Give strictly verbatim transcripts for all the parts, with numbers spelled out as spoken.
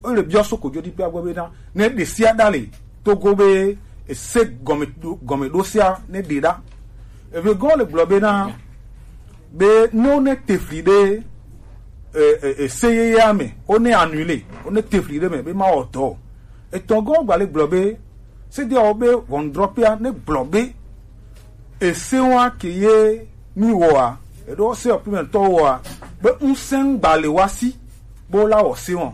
Wole biɔ so kojoɖiƒea gbɔ bena, ne ɖe sia ɖa le Togo be ese gɔme ɖo, gɔme ɖo sia ne ɖe ɖa. Eve gɔ le gblɔ bena, be ne wone tefli ɖe, e, e, e, se yeyea me, wone annulé, wone tefli ɖe me be mawɔ dɔ o. Etɔ̃ gɔ gba le gblɔ be, sedeawo be ʋɔnudrɔ̃ƒea ne gblɔ be, ese wa ke ye mi wɔa, eɖo se ɔpimɛtɔ wɔa, be ŋusẽ gba le wa si, be wola wɔ se wɔn.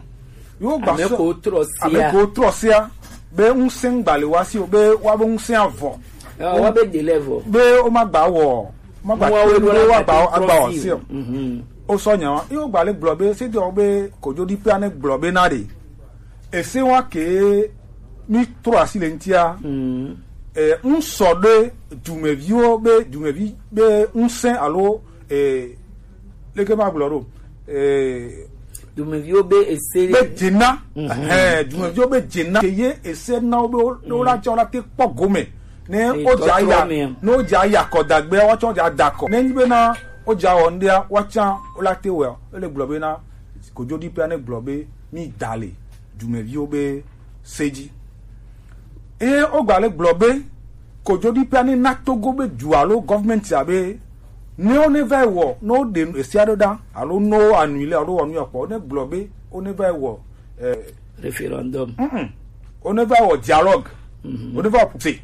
Yewo gba Ame sɔ-, ko trɔ sia. Ame ko trɔ sia, be ŋusẽ gba le wa si o, be wa be ŋusẽ avɔ. Ɔ, wa be de le vɔ. Be wo ma gba wɔ, ma gba Mɔ wo be wa gba, agba wɔ se o. Mhm. O sɔ nya wa. Yewo gba le gblɔ be, sedeawo be kojoɖiƒea ne gblɔ be na ɖe. Ese wa ke mi trɔ asi le ŋutia. Mm. Eh, ŋsɔ ɖe dumeviwo be, dumevi be ŋusẽ alo, eh, leke ma gblɔ ɖo. Eh, Dumeviwo be ese be dzena. Mhm. Eh, dumeviwo be dzena. Ke ye ese na wo be wo, wo la tsɔ la te kpɔ gome. Ne Eye o dza tɔtrɔ ya, mea. Ne o dza ya kɔ dagbe, wa tsɔ dza da kɔ. Ne nyi be na o dza wɔ ŋdea, wa tsã o la te wɔ. Ele gblɔ be na kojoɖiƒea ne gblɔ be mi da le dumeviwo be se dzi. Eye wogba le gblɔ be kojoɖiƒea ne na Togo be du alo gɔvmɛntia be ne wo ne va yi wɔ, ne wo ɖe esia ɖo ɖa, alo ne wo annulé alo wɔ nu ya kpɔ, ne gblɔ be wo ne va yi wɔ, eh, Référendum. Mm-mm. Wo ne va yi wɔ dialogue. Mhm. Wo ne va yi wɔ procès.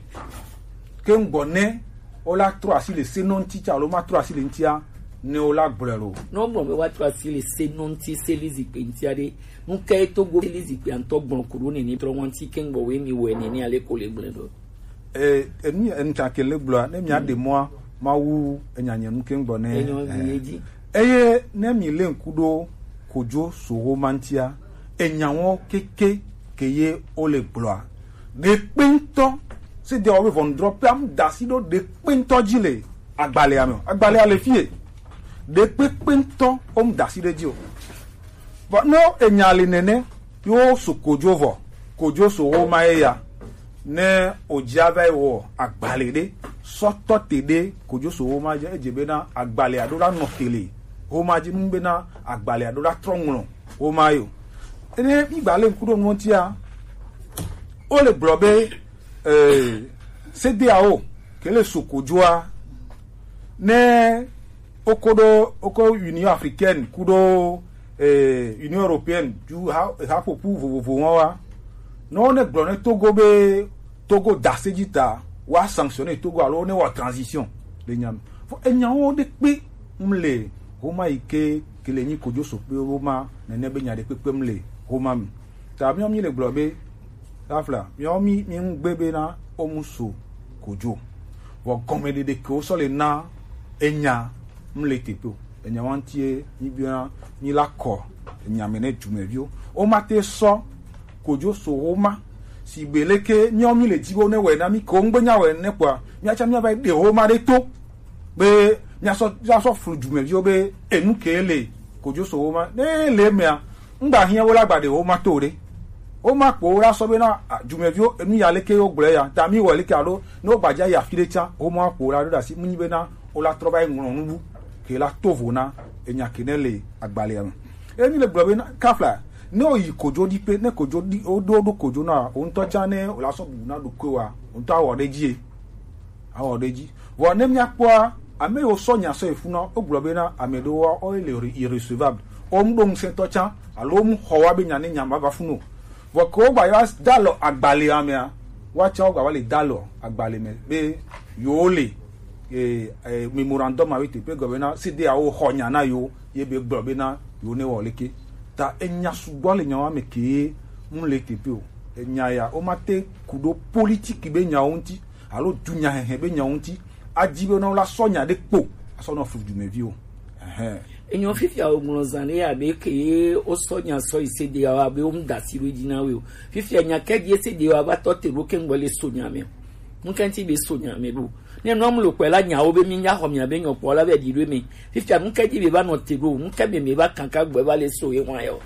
Ke ŋgbɔ ne wo la trɔ asi le se nɔ ŋuti tsa alo ma trɔ asi le ŋutia, ne wo la gblɔe lo. Ne wogblɔ be woatrɔ asi le se nɔ ŋuti, se li zikpui ŋutia ɖe, nu kae Togo se li zikpuia ŋutɔ gblɔ ku ɖo nene trɔ ŋɔti ke ŋgbɔ woe mi wɔe nene ale ko le gblɔe ɖo? E, enu, enu tsa ke le gblɔa, ne mia ɖe mɔa, Mawu enya nye nu ke ŋgbɔ ne. Enyo, eh, mi ye dzi. Eye ne mi le ŋku ɖo kojo so wo ma ŋutia, enya wo keke ke ye wo le gblɔa. Ɖekpe ŋutɔ, se de wo be ʋɔnudrɔ̃ƒea mu da asi ɖo ɖekpe ŋutɔ dzi le agbalẽa me o. Agbalẽa le fie. Ɖekpekpe ŋutɔ wo mu da asi ɖe dzi o. Vɔ, ne enya le nene, ye wo so kojo vɔ, kojo so wo ma ye ya. Ne o dzi ava yi wɔ agbalẽ ɖe, sɔ tɔ te ɖe kojo so wo ma dzi, edze bena agbalẽa ɖo la nɔ te le wo ma dzi, nu bena agbalẽa ɖo la trɔ ŋlɔ wo ma yo. Ene mi gba le ŋku ɖo nu ŋutia, wo le gblɔ be, eh, sedeawo ke le so kojoa, ne woko ɖo, woko Union Africaine kuɖo, eh, Union Européenne ju ha, haƒoƒu vovovo wɔn wa. Ne wo ne gblɔ ne Togo be Togo da se dzi ta, wa sanctionner Togo alo ne wa transition le nya me. Fo enyawo ɖe kpe ŋu le homa yi ke, ke le nyi kojo so kpe wo ma nene be nya ɖe kpekpe ŋu le homa me. Ta miɔ mi le gblɔ be, Safla, miɔ mi, mi ŋu gbe be na wo mu so kojo. Vɔ gɔmeɖeɖe ke wo sɔ le na enya ŋu le teƒe o. Enya wa ŋutie mi biɔna, mi la kɔ enya me ne dumeviwo. Wo ma te sɔ kojo so wo ma. Sigbe leke miɔ mi le dzi be wo ne wɔe na mi ke wo ŋgbe nya wɔe ne kpɔa, miatsa miava yi ɖe wo ma ɖe to. Be miasɔ, miasɔ flu dumeviwo be enu ke le kojo so wo ma. Ne le emea, ŋgba hiã wo la gba ɖe wo ma to ɖe. Wo ma kpo wo la sɔ be na, a, dumeviwo enu ya leke wo gblɔ ya. Ta mi wɔ leke alo ne wo gba dza yi afi ɖe tsã, wo ma kpo wo la ɖo ɖe asi. Mu nyi be na wo la trɔ va yi ŋlɔ nubu ke la to vo na enya ke ne le agbalẽa me. Emi le gblɔ be na kafla, ne wo yi kojo ɖi pe, ne kojo ɖi, wo ɖo, ɖo kojo na, wo ŋutɔ tsã ne wo la sɔ bu na ɖokui wa, wo ŋutɔ awɔ ɖe dzi ye. Awɔ ɖe dzi. Vɔ ne míakpɔa, ame yiwo sɔ nya sɔ yi funu, wogblɔ bena ame ɖewoa, wo le irre-, irrecevable. Wo mu ɖo ŋusẽtɔ tsã, alo wo mu xɔ wa be nya ne nya ma va funu o. Vɔ ke wogba va da alɔ agbalẽa mea, woatsã wogba va le da alɔ agbalẽ me be yewo le, eh, eh, mémorandum avec teƒe gɔme na C D A O xɔ nya na yewo, ye be gblɔ bena yewo ne wɔ leke. Ta enya sugbɔ le nyawo me ke mu le teƒe o. Enya ya, womate ku ɖo politiki be nyawo ŋuti. Alo dunyahehe be nyawo ŋuti, adi be na wo la sɔ nya ɖe kpo asɔ nɔ flu dumeviwo. Ɛhɛn. Enyo fifia wo ŋlɔ zã ɖe abe ke ye wo sɔ nya sɔ yi C D A O abe wo mu da asi ɖo dzi na wo o. Fifia nya ke di C D A O va tɔ te ɖo ke ŋgbɔ le so nya me. Ŋkɛnti be so nya me ɖo. Ne nɔ mu lo kpɛ la nyawo be mi nya xɔ mia be nyɔ kpɔ la be di ɖo me. Fifia ŋkɛ di be va nɔ te ɖo, ŋkɛ be me va kankan gbɛ va le so ye wa yo.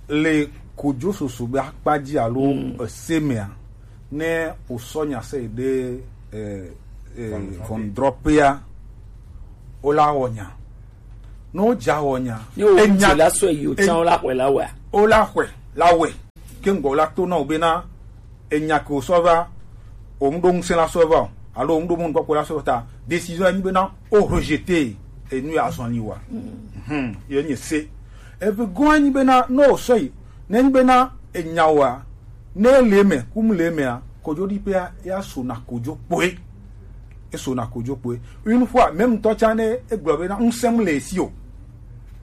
Le kojo soso be akpa dzi alo, mm, ese mea, ne wosɔ nya se ɖe, eh, eh, ʋɔnudrɔ̃ƒea, wola wɔ nya. Ne wodza wɔ nya, ne wo enya la sɔ yi o tsã, wola xɔe la wɔa. Wola xɔe la wɔe. ke ŋgɔ la to na o bena enya ke o sɔ va, o mu ɖo ŋusẽ la sɔ va o, alo o mu ɖo mɔnukpɔkpɔ la sɔ va ta, décision ya nyi bena o rejeter enu ya azɔn li wa. Hmm, ye nyi se. Eve gɔn ya nyi bena no o sɔ yi, ne nyi bena enya wa, ne le me, kum le me a, kojo ɖi pe a, ya so na kojo kpoe. E so na kojo kpoe. Une fois, même ŋutɔ tsã ne e gblɔ bena ŋusẽ mu le esi o.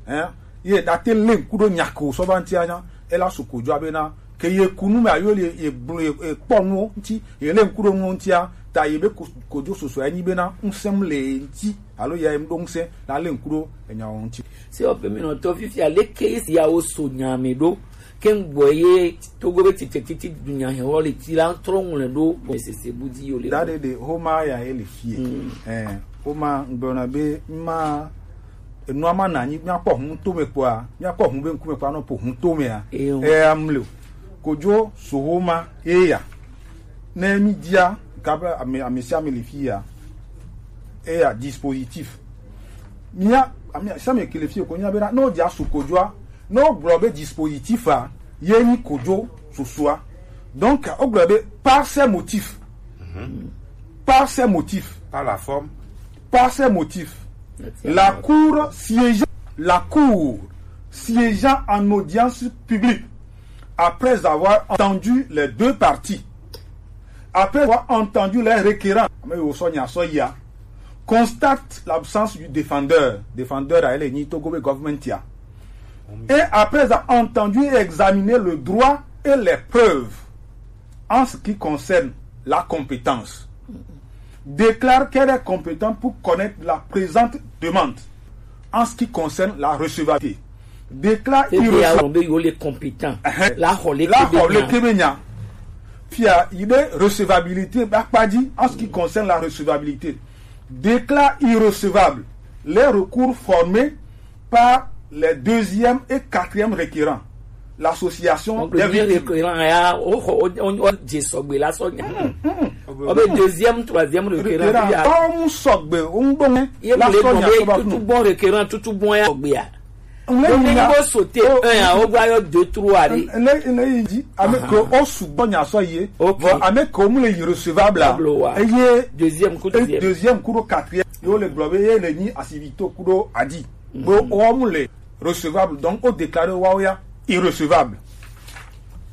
Hein? Ye da te le ŋku ɖo nya ke o sɔ va ŋuti a nya, e la so kojo a bena ke ye ku nu me ayo ye, ye blo, ye, ye kpɔ nuwo ŋuti, ye le ŋku ɖo nuwo ŋuti a, ta ye be ko-, kojo soso ya nyi bena ŋusẽ mu le ye ŋuti, alo ya ye mu ɖo ŋusẽ la le ŋku ɖo enya wo ŋuti. Si o pe mi nɔ to fifia leke si ya wo so nya me ɖo. Ke ŋgbɔ ye Togo be tete titi dunya he wɔ le ti la trɔ ŋlɛ ɖo bɔ sese bu di yo le. Da ɖe ɖe homa ya ye le fie. Mm. Eh, homa ŋgblɔna be ma enua ma na nyi míakpɔ hun to me kpɔa, míakpɔ hun be ŋkume kpɔa nɔ po hun to mea. Eyo. Eh, amle o. Kojo so homa eya. Ne mi dia kabe ame, ame sia ame le fia. Eya dispositif. Mia, ame sia ame ke le fie ko nya be na, no dia so kojoa, no gblɔ be dispositif a, ye nyi kojo sosoa. Donc, o gblɔ be par ses motifs. Mhm. Par ses motifs. Par la forme. Par ses motifs. La cour siégeant, la cour siégeant en audience publique après avoir entendu les deux parties, après avoir entendu les requérants, ame yiwo sɔ nya sɔ yia, constate l'absence du défendeur. Défendeur a, ele nyi Togo be government ya. Et après avoir entendu et examiné le droit et les preuves en ce qui concerne la compétence, déclare qu'elle est compétente pour connaître la présente demande en ce qui concerne la recevabilité. Déclare irrecevable. Be yo le compétent. Ɛhɛn. La xɔ le kebe nya. Fia, il est recevabilité, ba kpadji, en ce qui concerne la recevabilité. Déclare irrecevable les recours formés par les deuxième et quatrième requérants, l'association des victimes. Donc, le requérant ya, o, o, o, o, je sɔgbe la sɔ nya. Mm, mm. O be deuxième, troisième requérant, requérant ya. Ɔmu sɔgbe, o ŋgbɔ ŋɛ. Ye la sɔ nya sɔ ba funu. Tutu bon requérant, tutu bon ya sɔgbe ya. Ŋlɛ yi na. Bo sauter un ya, o gba yɔ deux, trois de. Ŋlɛ, ŋlɛ yi dzi, ame ke o sugbɔ nya sɔ ye. Ok. Vɔ ame ke o mu le irrecevable a. Eye deuxième kudo quatrième. Yo le gblɔ be ye le nyi asivito kudo adi. Be o mu le recevable, donc o déclarer wa o ya irrecevable.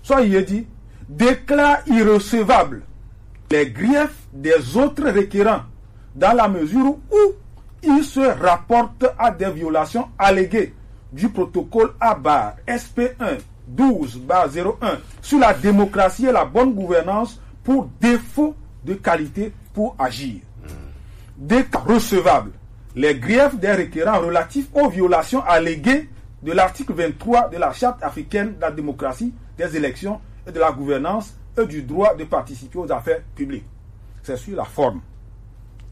Soit il dit, déclare irrecevable les griefs des autres requérants dans la mesure où ils se rapportent à des violations alléguées du protocole à barre S P un douze barre zéro un sur la démocratie et la bonne gouvernance pour défaut de qualité pour agir. Déclare recevable les griefs des requérants relatifs aux violations alléguées de l'article vingt-trois de la Charte africaine de la démocratie, des élections et de la gouvernance et du droit de participer aux affaires publiques. C'est sur la forme.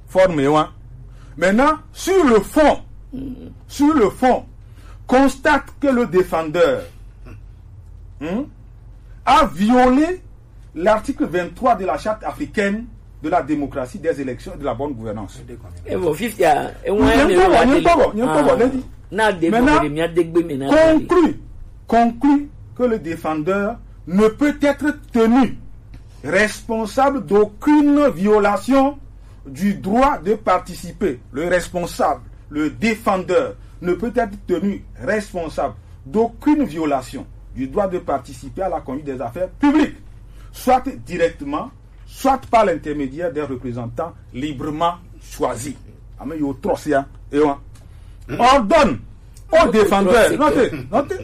Forme, hein. Maintenant, sur le fond, sur le fond, constate que le défendeur, hmm, a violé l'article vingt-trois de la Charte africaine de la démocratie, des élections et de la bonne gouvernance. E vɔ fifia, e ŋu eme wa de le. Nye kpɔbɔ, nye kpɔbɔ, ah, ne di. Na de. Maintenant, mɔ de mia de gbe me na de. Conclut, conclut que le défendeur ne peut être tenu responsable d'aucune violation du droit de participer. Le responsable, le défendeur, ne peut être tenu responsable d'aucune violation du droit de participer à la conduite des affaires publiques, soit directement, soit par l'intermédiaire des représentants librement choisis. Ame yiwo trɔ sia, e wa. Ordonne au défendeur. Notez, notez,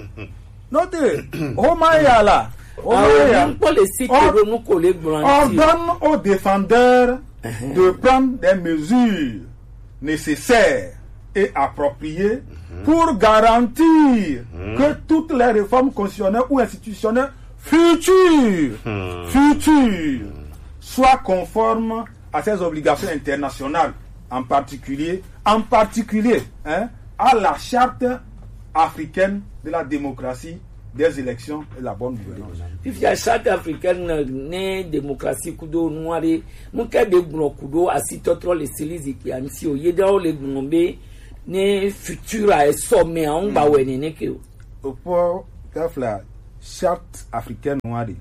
notez. Homa ya la. Homa ya. Ordonne au défendeur de prendre des mesures nécessaires et appropriées pour garantir que toutes les réformes constitutionnelles ou institutionnelles futures, futures soient conformes à ses obligations internationales, en particulier, en particulier, hein, à la Charte africaine de la démocratie, des élections et de la bonne gouvernance. Fifia Charte africaine ne démocratie kudo nuare, mu ke de gblɔ kudo asitɔtrɔ le seli zikpia ŋuti o, ye ɖewo le gblɔ be ne futur a esɔ me a ŋgba wɛ nene ke o. Okpɔ tafla Charte africaine wa ɖe,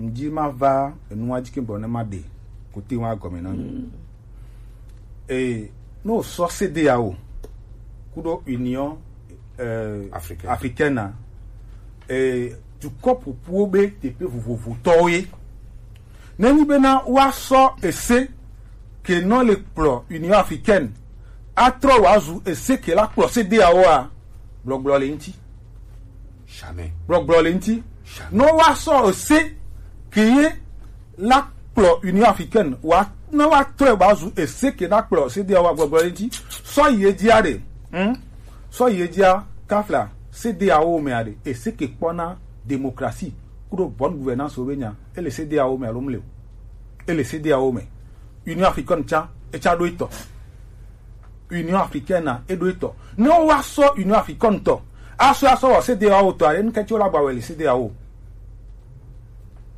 ŋdi ma va enu wa ji ke gblɔ ne ma ɖe kote wa gɔme na mi. E, no sɔ C D A O kuɖo Union, eh, Africaine. Africaine a, eh, dukɔ ƒoƒuwo be teƒe vovovotɔwo ye. Nenyi bena woasɔ ese ke nɔ le kplɔ Union Africaine atrɔ wòazu ese ke la kplɔ C D A O a, gbɔgblɔ le ŋuti. Jamais. Gbɔgblɔ le ŋuti. Jamais. Nɔ woasɔ ese ke ye la kplɔ Union Africaine wa, ne woatrɔe wòazu ese ke na kplɔ C D A O a, gbɔgblɔ le ŋuti. Sɔ yi edzia ɖe, hm? Sɔ yi edzia, kafla C D A O mea ɖe, ese ke kpɔna démocratie kuɖo bonne gouvernance wo be nya, ele C D A O me alo mle o? Ele C D A O me. Union Africaine tsa, etsa ɖo etɔ. Union Africaine na eɖo etɔ. Ne woasɔ Union Africaine tɔ, asɔ asɔ wɔ C D A O tɔ, ale ŋkɛntsi wo la gba wɛ le C D A O.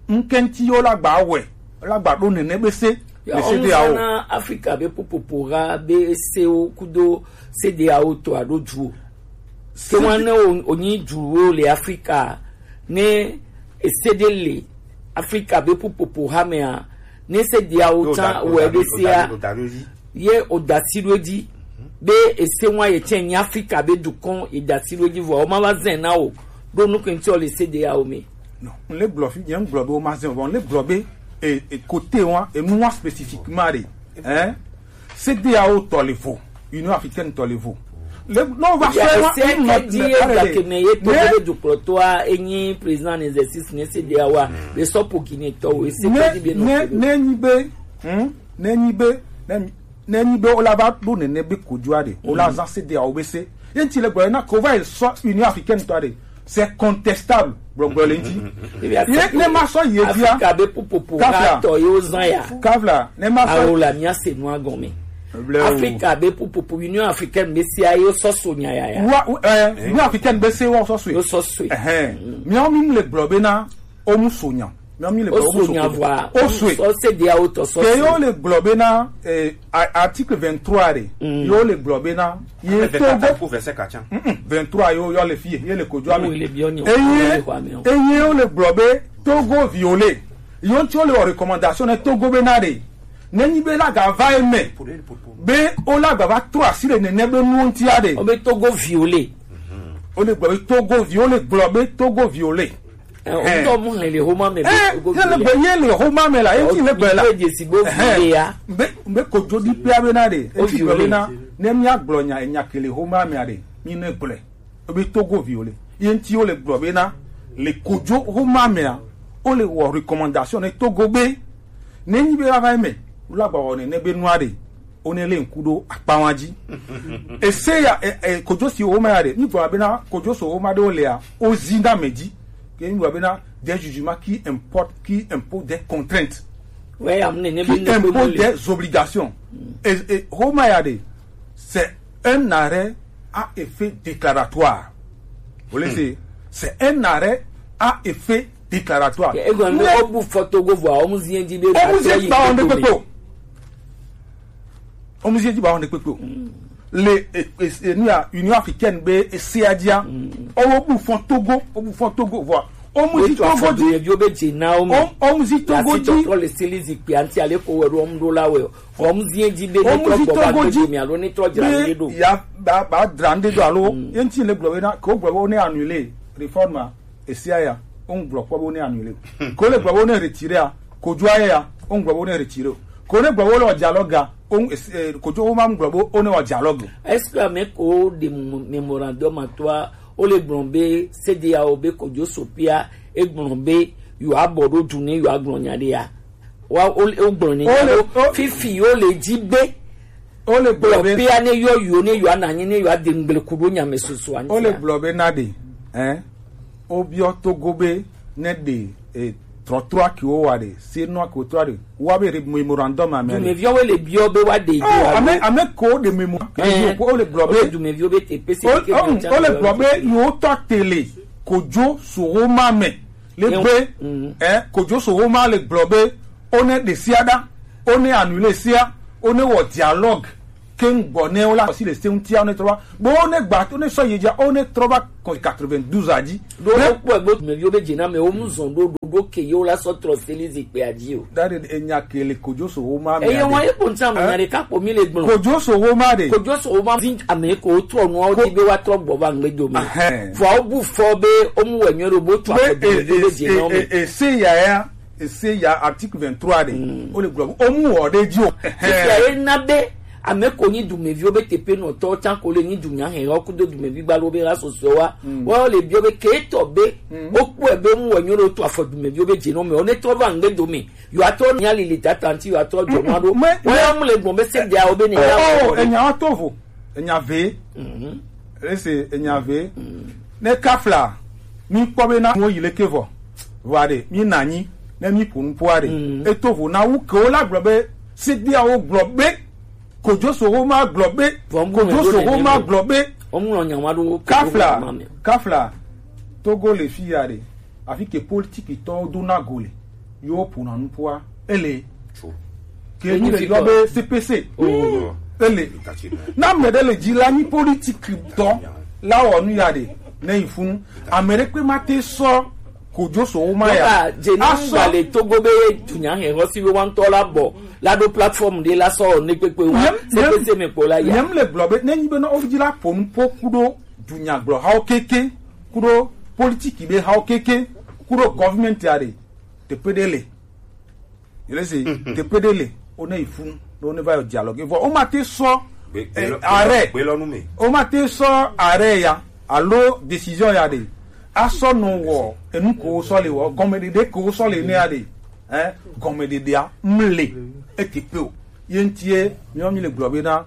Ŋkɛntsi wo la gba wɛ, la gba ɖo nene be se le C D A O. Na Afrika be ƒuƒoƒo ha be sewo kudo C D A O tɔ alo duwo. Ke wan ne o, onyi duwo le Afrika, ne ese ɖe le Afrika be ƒuƒoƒo ha mea, ne C D A O tsa wɛ be sea, ye o da si ɖo edzi be ese wa ye tsɛ nyi Afrika be dukɔ, ye da si ɖo edzi vɔ, o ma va zɛn na o ɖo nu ke ŋuti o le C D A O me. Non, n le gblɔ fi, nye n gblɔ be o ma zɛn o, vɔ n le gblɔ be e, e, kote wa, enu wa spécifiquement ɖe, hein? C D A O tɔ le vo, Union Africaine tɔ le vo. Le, no va sɔ wa, ese ke di e gake me ye to be dukplɔtɔa enyi président en exercice ne C D A O a, be sɔ po Guinée tɔ o, ese ke di be no. Ne, ne nyi be, hmm? Ne nyi be, ne, ne nyi be o la va ɖo nene be kojoa ɖe, o la zan C D A O be se. Ye ŋuti le gblɔ na ko va yi sɔ Union Africaine tɔ ɖe. C'est contestable. Gbɔgblɔ le ŋuti. Ye ne ma sɔ ye dia. Afrika be ƒuƒoƒo ha tɔ ye wo zan ya. Kafla, ne ma sɔ. Awo la mia se nua gɔme. Afrika be ƒuƒoƒo, Union Africaine be sea ye sɔ so nya ya ya. Wa, eh, Union Africaine be se wa sɔ so. Yo sɔ so. Ɛhɛn. Miawo mi le gblɔ be na o mu so nya. Miawo mi le gblɔ o mu so nya vɔ. O so. Sɔ C D A O tɔ sɔ so. Ke yo le gblɔ be na, eh, a-, article vingt-trois re. Yo le gblɔ be na. Ye Togo. Verset quatre, verset quatre. Mm-mm. Vingt-trois yo, yo le fie, ye le kojo ame. Eye, eye yo le gblɔ be Togo violé. Yo ŋuti wo le wɔ recommandation ne Togo be na ɖe. Ne nyi be la ga va eme. Be o la ga va trɔ asi le nene be nuwo ŋuti a ɖe. O be Togo violé. O le gblɔ be Togo vi, o le gblɔ be Togo violé. Eh, o ŋutɔ mu hlẽ le xoma me be Togo violé. Ye le gbe, ye le xoma me la, ye ŋuti le gbe la. O dze si be o violé ya. Be, be kojo di pia be na ɖe. O ŋuti gblɔ be na, ne mia gblɔ nya, nya ke le xoma me a ɖe, mi ne gblɔe. Ebe Togo violé. Ye ŋuti wo le gblɔ be na, le kojo xoma mea, o le wɔ recommandation ne Togo be, ne nyi be va va eme, la gba wɔ ne, ne be nua ɖe, o ne le ŋku ɖo akpawa dzi. Ese ya, e, e, kojo si xoma ya ɖe, mi gblɔ be na, kojo so xoma ɖe o lea, o zi na me dzi. Ke mi gblɔ be na, des jugements qui importent, qui imposent des contraintes. Ouais, amene, ne be ne ko mo le. Qui imposent des obligations. E, e, xoma ya ɖe, c'est un arrêt à effet déclaratoire. Vous voyez, c'est, c'est un arrêt à effet déclaratoire. Ego ndo obu foto go vwa, omuzie di be. Omuzie di ba onde kpekpe o. Omuzie di ba onde kpekpe o. Le, e, e, e, ni a Union Africaine be e se adia. Obu fon Togo, obu fon Togo vwa. Omuzi Togo di. Yo be je na o me. Omuzi Togo di. Tɔtɔ le seli zikpui anti ale ko wɛ ɖo ɔmu ɖo la wɛ. Omuzi di be ne trɔ gbɔ ba Togo di. Mi alo ne trɔ dra ne ɖo. Ya ba, ba dra ne ɖo alo. Ye ŋuti le gblɔ be na, ko gblɔ be o ne annuler réforme esia ya. O ŋu gblɔ kpɔ be o ne annuler. Ko le gblɔ be o ne retirer a. Kojo aye ya. O ŋu gblɔ be o ne retirer o. Ko ne gblɔ be o le wɔ dialogue a. O ŋu, eh, kojo o ma ŋu gblɔ be o ne wɔ dialogue. Est-ce que ame ko de mémorandum atɔa Wo le gblɔ be C D A O be kojo sopia, e gblɔ be yewoa bɔ ɖo du ne yewoa gblɔ nya ɖe ya. Wa, wo, wo gblɔ ne nya ɖo. Fifi wo le dzi be wo le gblɔ be pia ne yɔ yewo ne yewoa na anyi ne yewoa de ŋgble ku ɖo nya me susu anyi. Wo le gblɔ be na ɖe, hein? Wo biɔ Togo be ne ɖe, eh, trɔtrɔa ke wo wa ɖe, se nua ke wo trɔ ɖe, wa be re-, memorandum ame ɖe. Dumeviwo le biɔ be wa ɖe. Oh, ame, ame ko ɖe memo. Eh, ko le gblɔ be dumeviwo be te pese ke o le gblɔ be yewo tɔ tele kojo so wo ma me. Le gbe, eh, kojo so wo ma le gblɔ be o ne ɖe sia ɖa, o ne annuler sia, o ne wɔ dialogue. keŋ gbɔ ne wo la si le se ŋutia ne trɔ va. Bo ne gba to ne sɔ yi dza o ne trɔ va kɔ quatre-vingt-douze a dzi. Ɖo wokpɔe be dumeviwo be dzename wo mu zɔn ɖo ɖoɖo ke yewo la sɔ trɔ seli zikpuia dzi o. Da ɖe enya ke le kodzo so wo ma me. Eye wɔn ye kpɔn tsã me nya ɖeka kpɔ mi le gblɔ. Kodzo so wo ma ɖe. Kodzo so wo ma vi ame ko trɔ nua wo di be wa trɔ gbɔ va ŋgbe dome. Vɔ wo bu fɔ be wo mu wɛ nyuie ɖo bo tu afɔ dumeviwo be dzename. Ese ya ya, ese ya article vingt-trois ɖe. Wo le gblɔ be wo mu wɔ ɖe dzi o. Fifia ye na be ame ko nyi dumeviwo be teƒenɔtɔwo tsã ko le nyi dunya hɛn wo kudo dumevi gbalo be la sɔsɔe wa. Wo le biɔ be ke tɔ be wo kpɔe be mu wɔ nyuie ɖo to afɔ dumeviwo be dzenɔ me wo ne trɔ va ŋgbe dome. Yo atɔ nya lili tata ŋti yo atɔ jɔ nua ɖo. Wo ya mu le gbɔn be se dia wo be ne ya. Oh, enya wa to vo. Enya ve. Ese enya ve. Ne kafla mi kpɔ be na mo yi le ke vɔ. Vɔ ɖe mi na nyi ne mi ƒo nu ƒoa ɖe. Eto vo na wu ke wo la gblɔ be se dia wo gblɔ be Kojosoho ma gblɔ be. Kojosoho ma gblɔ be. Kafla, kafla. Togo le fi ya ɖe. Afi ke politiki tɔwo dona go le. Yo ƒona nuƒoa. Ele. Ke mi le yɔ be C P C. Ele. Na ame ɖe le dzi la nyi politiki tɔ la wɔ nu ya ɖe. Ne yi funu. Ame ɖe kpe ma te sɔ Kojosoho ma ya. Asɔ le Togo be dunya hɛn hɔ si be wa ŋutɔ la bɔ la ɖo plateforme ɖe la sɔ ne kpekpe wa. Se pe se me kpo la ya. Nyem le gblɔ be ne nyi be na wo dzi la ƒo nu ƒo kuɖo dunyagblɔhawo keke, kuɖo politiki be hawo keke, kuɖo government ya ɖe teƒe ɖe le. Yele se teƒe ɖe le wo ne yi funu ɖo ne va yɔ dialogue vɔ wo ma te sɔ arrêt. Wo ma te sɔ arrêt ya alo décision ya ɖe. Asɔ nɔ wɔ enu ko sɔ le wɔ gɔmeɖeɖe ko sɔ le ne ya ɖe. Ɛ gɔmeɖeɖea mle eke pe o. Ye ŋutie miɔ mi le gblɔ be na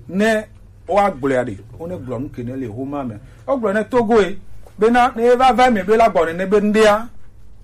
ne woagblɔe ɖe, wone gblɔ nu ke ne le Roma me. Wogblɔ ne Togoe bena ne eva va eme be la gbɔ nene be ŋɖea,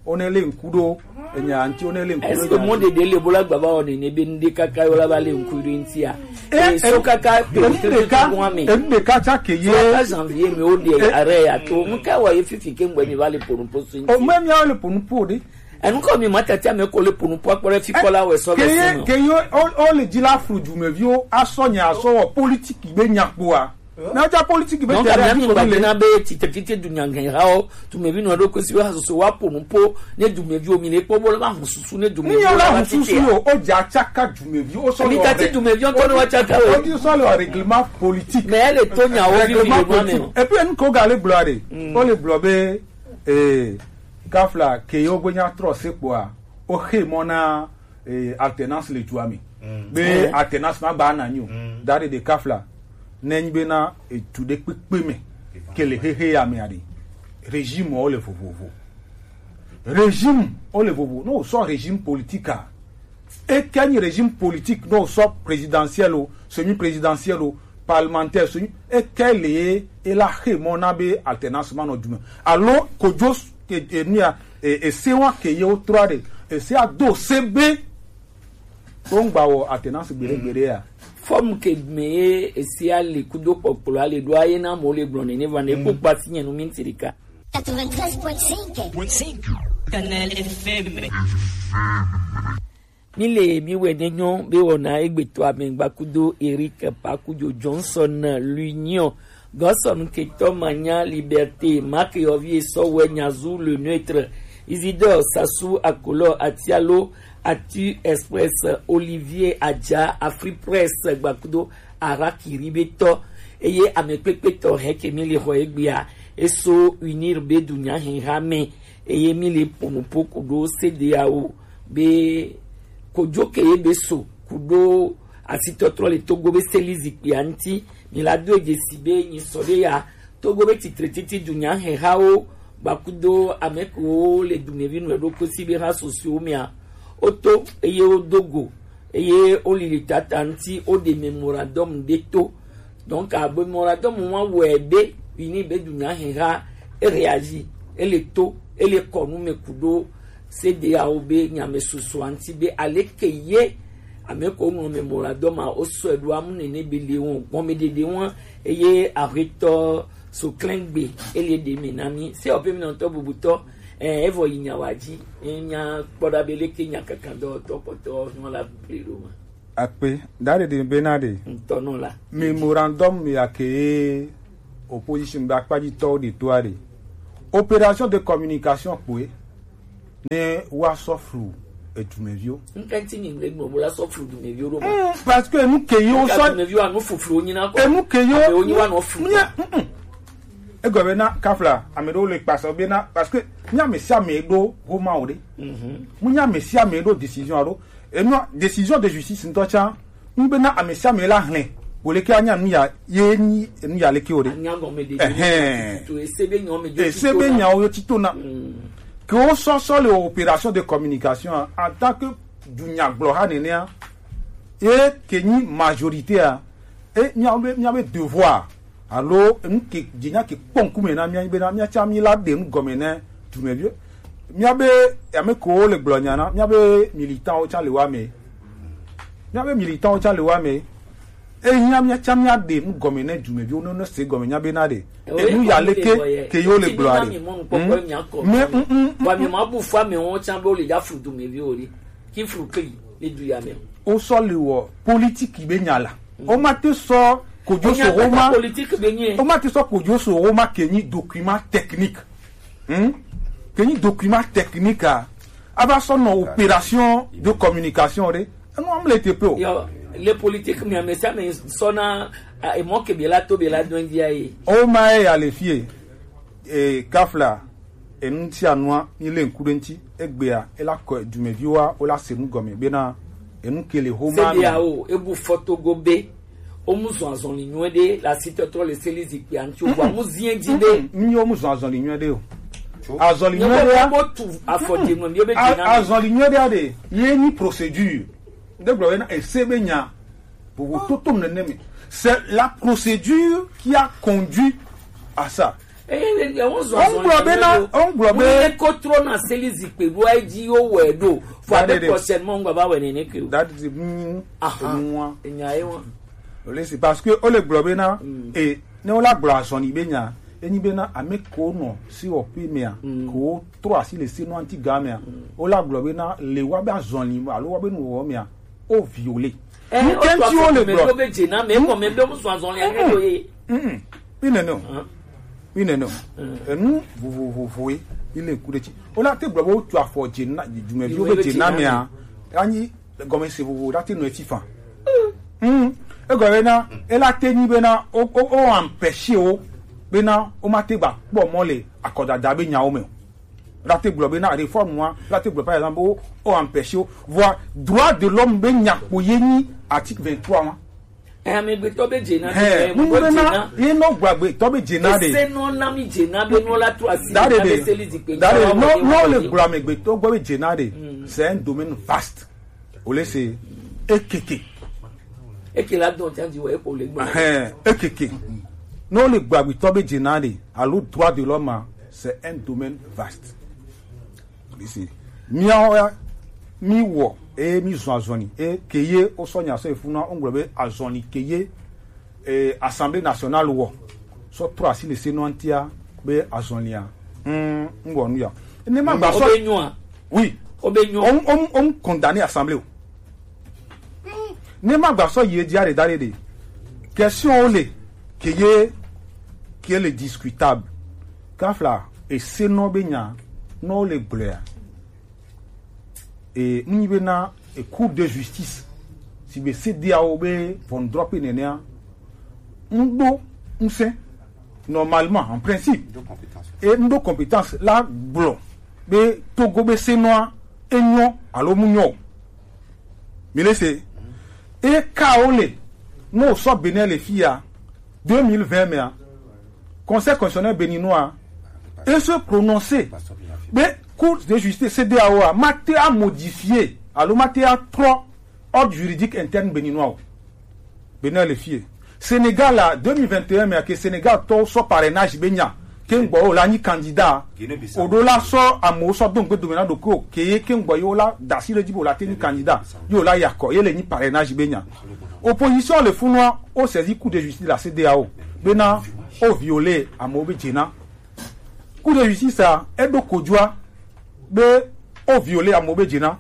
wone le ŋku ɖo enya ŋuti, wone le ŋku ɖo. Est-ce que mɔ ɖeɖe le bo la gba va wɔ nene be ŋɖe kaka yo la va le ŋku ɖo ŋutia? Eh, so kaka enu ɖeka, enu ɖeka tsã ke ye. Kaka janvier me wo ɖe are ya to. Ŋka wɔ ye fifi ke ŋgbɛ mi va le ponu posu ŋuti. O me mi le ponu po ɖe. Enu kɔ mi ma tati ame ko le ponu po akpɔ ɖe fi kɔ la wɔ sɔ ke ye, ke ye o, o le dzi la flu dumeviwo asɔ nya asɔ wɔ politiki be nya kpoa. Na ja politiki be. Donc, ame mi gba dena be tite tite dunya ŋgɛ ha o, dumevi nɔ ɖo ko si be hasoso wa ponu po, ne dumevi o mi le kpɔ bo le ba hu susu ne dumevi. Ni ya la hu susu o, o ja tsaka dumevi o sɔ. Mi tati dumevi o tɔ ne wa tsaka o. O di sɔ le règlement politique. Mais elle est tonya o vi mi le ma me. Et puis en ko ga le blore. O le blore be eh Kafla ke yewo gbe nya trɔ se kpoa, woxe mɔ na eh, alternance le dua me. Be alternance ma gba na nyo. Da ɖe de kafla ne nyi be na etu ɖe kpekpe me ke le xexe ya me aɖe. Régime wo le vovovo. Régime wo le vovo. No sɔ régime politique a. Eke nyi régime politique no sɔ présidentiel o, semi-présidentiel o, parlementaire, semi eke le e la xe mɔ na be alternance ma nɔ du me. Alo kojo e, e, nua e, e se wa ke ye wo trɔ ɖe e se a do se be wo ŋgba wɔ alternance gbeɖe gbeɖe ya. Fɔm ke me ye e se a le kudo kpɔkplɔ a le ɖo a ye na mo le gblɔ ne ne va ne kpɔ kpa si nye nu mi ŋuti ɖeka. Quatre-vingt-treize point cinq. Canal F M. Mi le mi wɛ ne nyɔ be wɔna egbetɔ amegbakudo Eric Pakujo Johnson l'Union. Gɔsɔn ketɔ manya Liberté, Marc Yovi Esɔwɛ Nyazu le neutre, Isidore Sassou Akolo Atialo, Atu Express, Olivier Adja, Afri Press gbakudo Arakiri be tɔ, eye ame kpekpe tɔ hɛ ke mi le xɔ egbea, eso unir be dunya hɛn ha me, eye mi le ponu po kudo C D A O be kojo ke ye be so kudo asitɔtrɔ le Togo be seli zikpui a ŋuti, mi la do edze si be nyi sɔ ɖe ya Togo be titre titi dunya hɛn hawo gbakudo ame kewo le dumevi nu eɖo kosi be ha sosiwo mea, woto eye wodo go eye woli le tata ŋuti woɖe memorandum ɖe to. Donc abe memorandum wa wɔe be uni be dunya hɛn ha e réagir, ele to, ele kɔ nu me kudo C D A O be nyame susu a ŋuti be aleke ye ame ko ŋlɔ memorandum a wosɔe ɖo amu nene be le wɔn gɔmeɖeɖe wɔn eye ahetɔ Soklɛngbe ele ɖe mi na mi se ɔpe mi nɔtɔ bubutɔ. Evɔ yi nyawa dzi enya kpɔ ɖa be leke nya kankan dɔwɔtɔ kpɔtɔ nyɔ la ble ɖo ma. Akpe, da ɖeɖe be na ɖe. Ŋutɔ nɔ la. Memorandum ya ke opposition be akpajitɔwo ɖe to a ɖe. Opération de communication kpoe ne wa sɔ flu edumeviwo. Ŋkɛ ŋti nyi ŋgbe gbɔ bo la sɔ flu dumeviwo ɖo ma. Mm, parce que enu ke yo sɔ dumeviwo anu fuflu wo nyina kɔ. Enu ke yo wo nyi wa nɔ flu. Nya, mm, mm. Egɔme na kafla ame ɖewo le kpasa be na parce que nya me sia me ɖo homa o ɖe. Mhm. Mu nya me sia me ɖo décision alo. Enu décision de justice ŋutɔ tsa ŋgbe na ame sia ame la hlẽ. Wo leke anya nu ya ye nyi enu ya leke o ɖe. Anya gɔme de. Ɛhɛn. Ese be nyawo me dzo. Ese be nyawo yo tito na. Mm. Ke wo sɔ sɔ le opération de communication en tant que dunyagblɔha nenea ye ke nyi majorité a e miawo be miabe devoir alo enu ke dze nya ke kpɔ ŋkume na mia be na mia tsa mi la ɖe nu gɔme ne dumevi miabe ame ko le gblɔ nya na miabe militant wo tsa le wa me miabe militant wo tsa le wa me eya mia tsa mia ɖe nu gɔme ne dumevi wo ne ne se gɔme nya be na ɖe enu ya leke ke yo le gblɔ a ɖe. Mais mm mm wa mi ma bu fa me wo tsa be wo le ya fu dumevi wo ɖe ki fu ke yi le du ya me. Wo sɔ le wɔ politique be nya la. O ma te sɔ kojo so o ma politique be nye. O ma te sɔ kojo so o ma ke nyi document technique. Hmm? Ke nyi document technique a. A va sɔ nɔ opération de communication ɖe. Enu am le te pe o. Yo, le politique mi ame sa me sɔ na e mo ke be la to be la don dia ye. O ma e ya le fie. E kafla enu sia nua mi le ŋku ɖe ŋti egbea ela kɔ dumeviwa wola se nu gɔme bena enu ke le homa me. Sedia o ebu fɔtogo be o mu zɔn azɔli nyuie ɖe la si tɔtrɔ le seli zikpui anti o wa mu zie di be. Mi o mu zɔn azɔli nyuie ɖe o. Azɔli nyuie ɖe a. Bo tu afɔ de nu mi o be dina. Azɔli nyuie ɖe a de ye ni procédure. De gblɔ bena ese be nya. Vovo toto nene me. C'est la procédure qui a conduit à ça. Eye le ŋgblɔ be na ŋgblɔ be. Ko trɔ na seli zikpe ɖo edzi wo wɛ ɖo fo abe prochainement ŋgba va wɛ nene ke o. That is mu. Aha. Enya ye wa. Ole si parce que ole gblɔ be na e ne wola gblɔ azɔli be nya enyi be na ame ko nɔ si wɔ pe mea ko trɔ asi le se nɔ anti ga mea wola gblɔ be na le wa be azɔli alo wa be nu wɔ mea o viole. Ŋkɛnti wo le gblɔ. Be dze na me kɔ me be mu sɔ azɔli ake do ye. Mm. Mi nene o. Mi nene o. Enu vovovovoe mi le ku ɖe tsi. Wola te gblɔ be wotu afɔ dze na dumeviwo be dze na mea anyi gɔme se vovo la te nɔ eti fan. Mm. Egɔme na ela te nyi be na o o o empêcher wo be na wo ma te gba kpɔ mɔ le akɔdada be nyawo me o. La te gblɔ be na réforme wa la te gblɔ par exemple o o empêcher wo. Vɔa droit de l'homme be nya kpo ye nyi article vingt-trois wa. Amegbetɔ be dze na. Hɛ mu be na ye nɔ gba gbetɔ be dze na de. Ese nɔ na mi dze na be nɔ la to asi da de de da de nɔ nɔ le gblɔ amegbetɔ gbɔ be dze na de. C'est un domaine vaste. O le se ekeke. Eke la dɔn tiɛ di wɔ epo le gbɔ. Hɛ ekeke. Nɔ le gba gbetɔ be dze na de alo droit de l'homme c'est un domaine vaste. Ici. Miawo ya, mi wɔ, eye mi zɔn azɔli, eye ke ye wo sɔ nya sɔ efuna wo gblɔ be azɔli ke ye eh, Assemblée nationale wɔ sɔ trɔ asi le se nɔ antia be azɔlia. Mm, n wɔ nu ya. Ne ma gba sɔ. Obe nyua. Oui. Obe nyua. On on on condamner assemblée o. Ne ma gba sɔ ye dia de da de de. Question o le ke ye ke le discutable. Kafla e se nɔ be nya nɔ le gblɔa. E nu nyi be na e Cour de justice si be C D A O be ʋɔnudrɔƒe nenea ŋɖo ŋusẽ normalement en principe e ŋɖo compétence la gblɔ be Togo be senɔa enyɔ alo mu nyɔ o. Mi le se e ka wo le ne wosɔ Benin le fi ya deux mille vingt mea Conseil constitutionnel béninois e se prononcer be Cour de justice C D A O a ma te a modifier alo ma te a trɔ ordre juridique interne béninois o. Benin le fie. Sénégal a deux mille vingt et un mea ke Sénégal tɔwo sɔ parrainage be nya ke ŋgbɔ o la nyi candidat o ɖo la sɔ amewo sɔ do ŋgbe dome na ɖokuiwo ke ye ke ŋgbɔ ye wo la da asi ɖe dzi be o la te nyi candidat ye o la yakɔ ye le nyi parrainage be nya. Opposition le funua o saisi Cour de justice de la C D A O bena o violer amewo be dzena. Cour de justice a eɖo kodzoa be o violer amewo be dzena.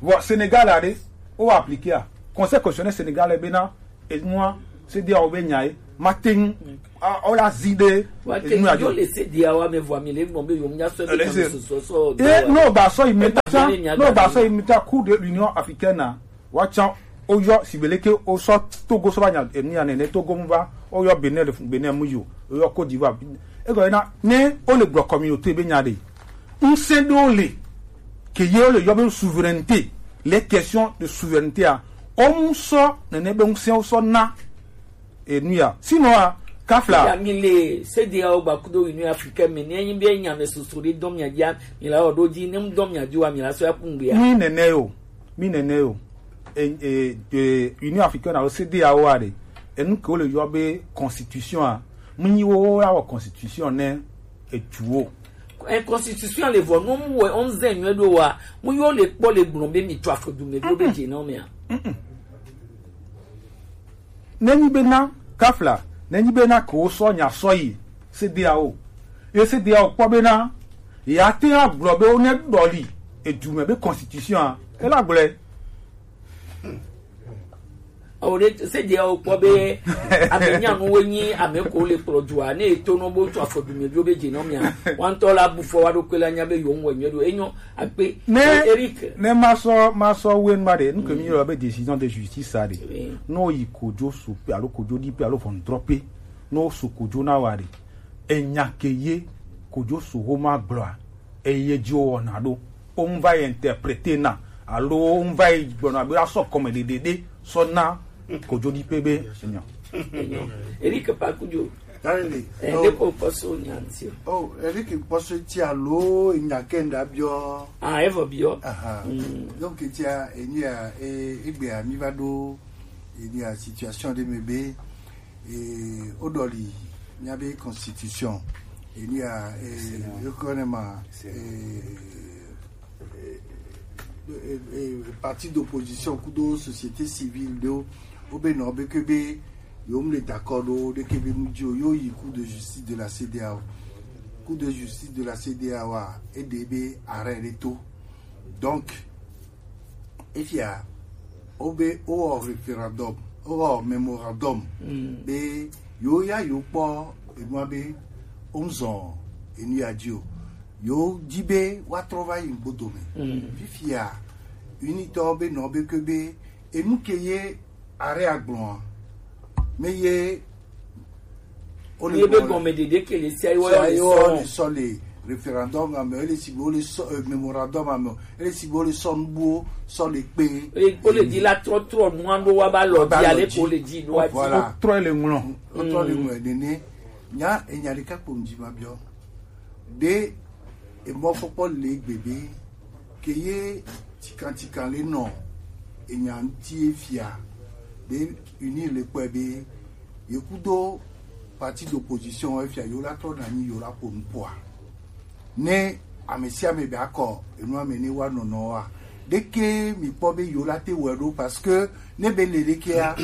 Vɔ Sénégal a ɖe o appliquer a. Conseil constitutionnel sénégalais bena enua, CEDEAO be nya ye, ma teŋ, a, o la zi de, Wa ke enu yo ajo. Le CEDEAO wa me vɔ mi le gbɔn be yo nya sɔ be Ele kan se. So so so. E, no ba sɔ yi meta, Ebe ne nya no ba gba sɔ yi meta Cour de l'Union africaine na. Wa tsa o yɔ sibele ke o sɔ Togo sɔ ba nya enu ya nene Togo mu ba, o yɔ Benin le Benin mu yo, o yɔ Côte d'Ivoire. E gɔ na ne o le gblɔ communauté be nya de. Ŋsɛn ɖewo le ke ye wole yɔ be souveraineté, les questions de souveraineté a, womu sɔ nene be ŋsɛnwo sɔ na enu ya. Sinon a, kafla. Ya mi le CEDEAO gba kudo Union Africaine me ne nyi be nya me soso ɖe dɔn mia dia mi la o do di ne mu dɔn mia di wa mi la so ya kungbe ya. Mi nene yo, mi nene yo. E, e, e, Union Africaine alo CEDEAO a ɖe, enu ke wole yɔ be constitution a, mu nyi wo ya wɔ constitution ne etuwo. E constitution le vɔ no mu wɛ on zen nyuɛ do wa mu yo le kpɔ le gblɔ be mi to afɔ du me do be je na me a. Nenyi be na kafla, nenyi be na ko sɔ nya sɔ yi CEDEAO. Ye CEDEAO kpɔ be na ya te agblɔ be wo ne dɔli edu me be constitution a. E la gblɛ. O ɖe se de o kpɔ be ame nyanuwo nyi ame ko le kplɔ dua ne eto nɔ bo to afɔ dume bio be dze nɔ mia wantɔ la bu fɔ wa ɖo kpe la nya be yo ŋwɛ nyuie ɖo enyo akpe. Ne Eric, ne ma sɔ ma sɔ wen ma ɖe nu ke mi yɔ be décision de justice a ɖe, ne o yi kodzo so pe alo kodzo ɖi pe alo ʋɔnudrɔƒe, ne o so kodzo na wa ɖe, enya ke ye kodzo so ho ma gblɔa, eye dzi wowɔna ɖo. Wo ŋu va yi interprete na alo wo ŋu va yi gblɔna be asɔ kɔme ɖeɖe ɖe sɔ na kodzo ɖi pe be enya. Eric Pakudzo. Daniel. Eh, oh. Ɖeko kpɔso nya ŋuti o. Oh, Eric kpɔso ti alo nya ke ŋda biɔ. Ah, evo biɔ. Aha. Mm. Donc tia enya e egbea mi va ɖo enya situation ɖe me be e, o ɖɔli mia be constitution, e, ni a, e, yo kɔ ne ma, e, e, e, e, parti d'opposition kudo société civile ɖo, o be nɔ be ke be yo mu le d'accord ɖo ɖe ke be mu dzi o, yo yi Cour de justice de la CEDEAO. Cour de justice de la CEDEAO a, e ɖe be arrêt ɖe to. Donc, efia, wobe wowɔ référendum, wowɔ mémorandum, mm, be yo ya yo kpɔ enua be wozɔn enu ya dzi o. Yo di be woatrɔ va yi ŋgbodo me. Mm. Fifia, unitɔ be nɔ be ke be enu ke ye are agblɔa, me ye Ye be gɔme ɖeɖe ke le sia ye wo le sɔ le référendum ame, ele si be wo le sɔ, euh, mémorandum ame, ele si be wo le sɔ nubuwo sɔ le kpe. Eye wo le di la trɔ trɔ nua ɖo wa ba lɔ di ale ko le di nua di. Voilà. Trɔ le ŋlɔ. Trɔ le ŋlɔ nene. Nya enya ɖeka kpo ŋdi ma biɔ. Ɖe emɔfɔkpɔ le gbegbe ke ye tikantikan le nɔ enya ŋuti efia be uni le kpɔe be ye kudo parti d'opposition efia yo la trɔ na nyi yo la ƒo nu ƒoa ne ame sia ame be akɔ enua me ne wa nɔnɔ wa ɖeke mi kpɔ be yo la te wɔe ɖo parce que ne be le ɖekea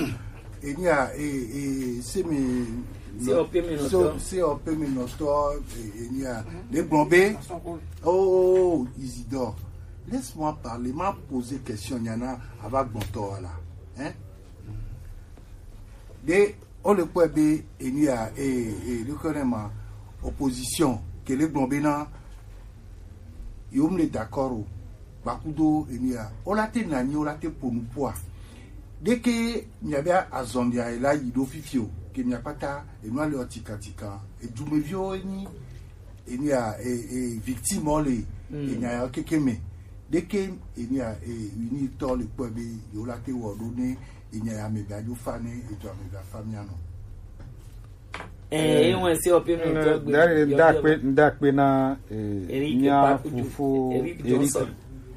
enia e e se me se ope me nɔtɔ se ope me nɔtɔ enia le gblɔ be oh Isidore, laisse-moi parler, ma poser question nyana ava gbɔntɔ la hein de o le kpɔe be enia e e le kɔ ne ma opposition ke le gblɔ be na yo mu le d'accord o gbakudo enia o la te nanyi o la te ponu poa ɖeke miabe azɔlia la yi ɖo fifi o ke miakpata enua le tikatika edumeviwo enyi enia e e victime o le enia ya keke me ɖeke enia e unitɔ le kpɔe be yo la te wɔ ɖo ne enya ya me ga dzo fa ne edzo ame ga fa mia nɔ. Eh, eh, wọn se ope mi tɔ gbe. Ndakpe ndakpe na eh, mia fofo Eric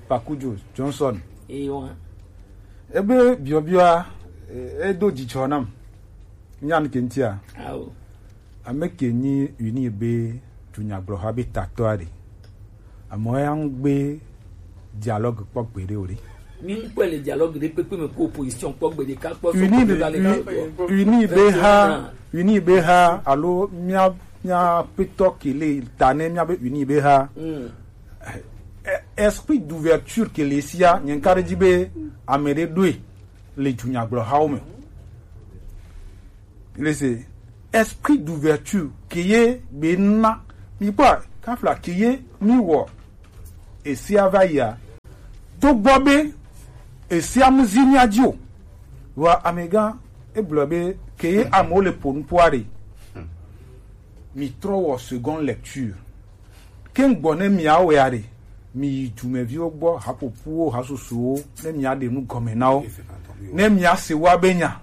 Pakujo Johnson. Ebe biɔbiɔa eh, edo dzidzɔ nam. Nyan ke ntia. Awo. Ame ke nyi uni be dunyagblɔha be tatɔ aɖe. Ame ya ŋgbe dialogue kpɔ gbeɖe o ɖe. Mi ŋkpɔe le dialogue ɖe kpekpe me ko opposition kpɔ gbe ɖeka kpɔ so uni be uni be ha uni be ha alo mia mia petɔ kele ta ne mia be uni be ha. Mm. Eh, esprit d'ouverture kele sia nye nka ɖe dzi be ame ɖe ɖoe. le dunyagblɔhawo me. Lese, esprit d'ouverture ke ye be na mi kpɔ kafla ke ye mi wɔ esia va yia. To gbɔ be esia mu zi mia dzi o. Wa amegã egblɔ be ke ye amewo le po nuƒoa ɖe. Mi trɔ wɔ seconde lecture. Ke ŋgbɔ ne miawɔe aɖe, miyi dumeviwo gbɔ, haƒoƒuwo, hasusuwo, ne miaɖe nu gɔme na wo. Ne miase woa be nya,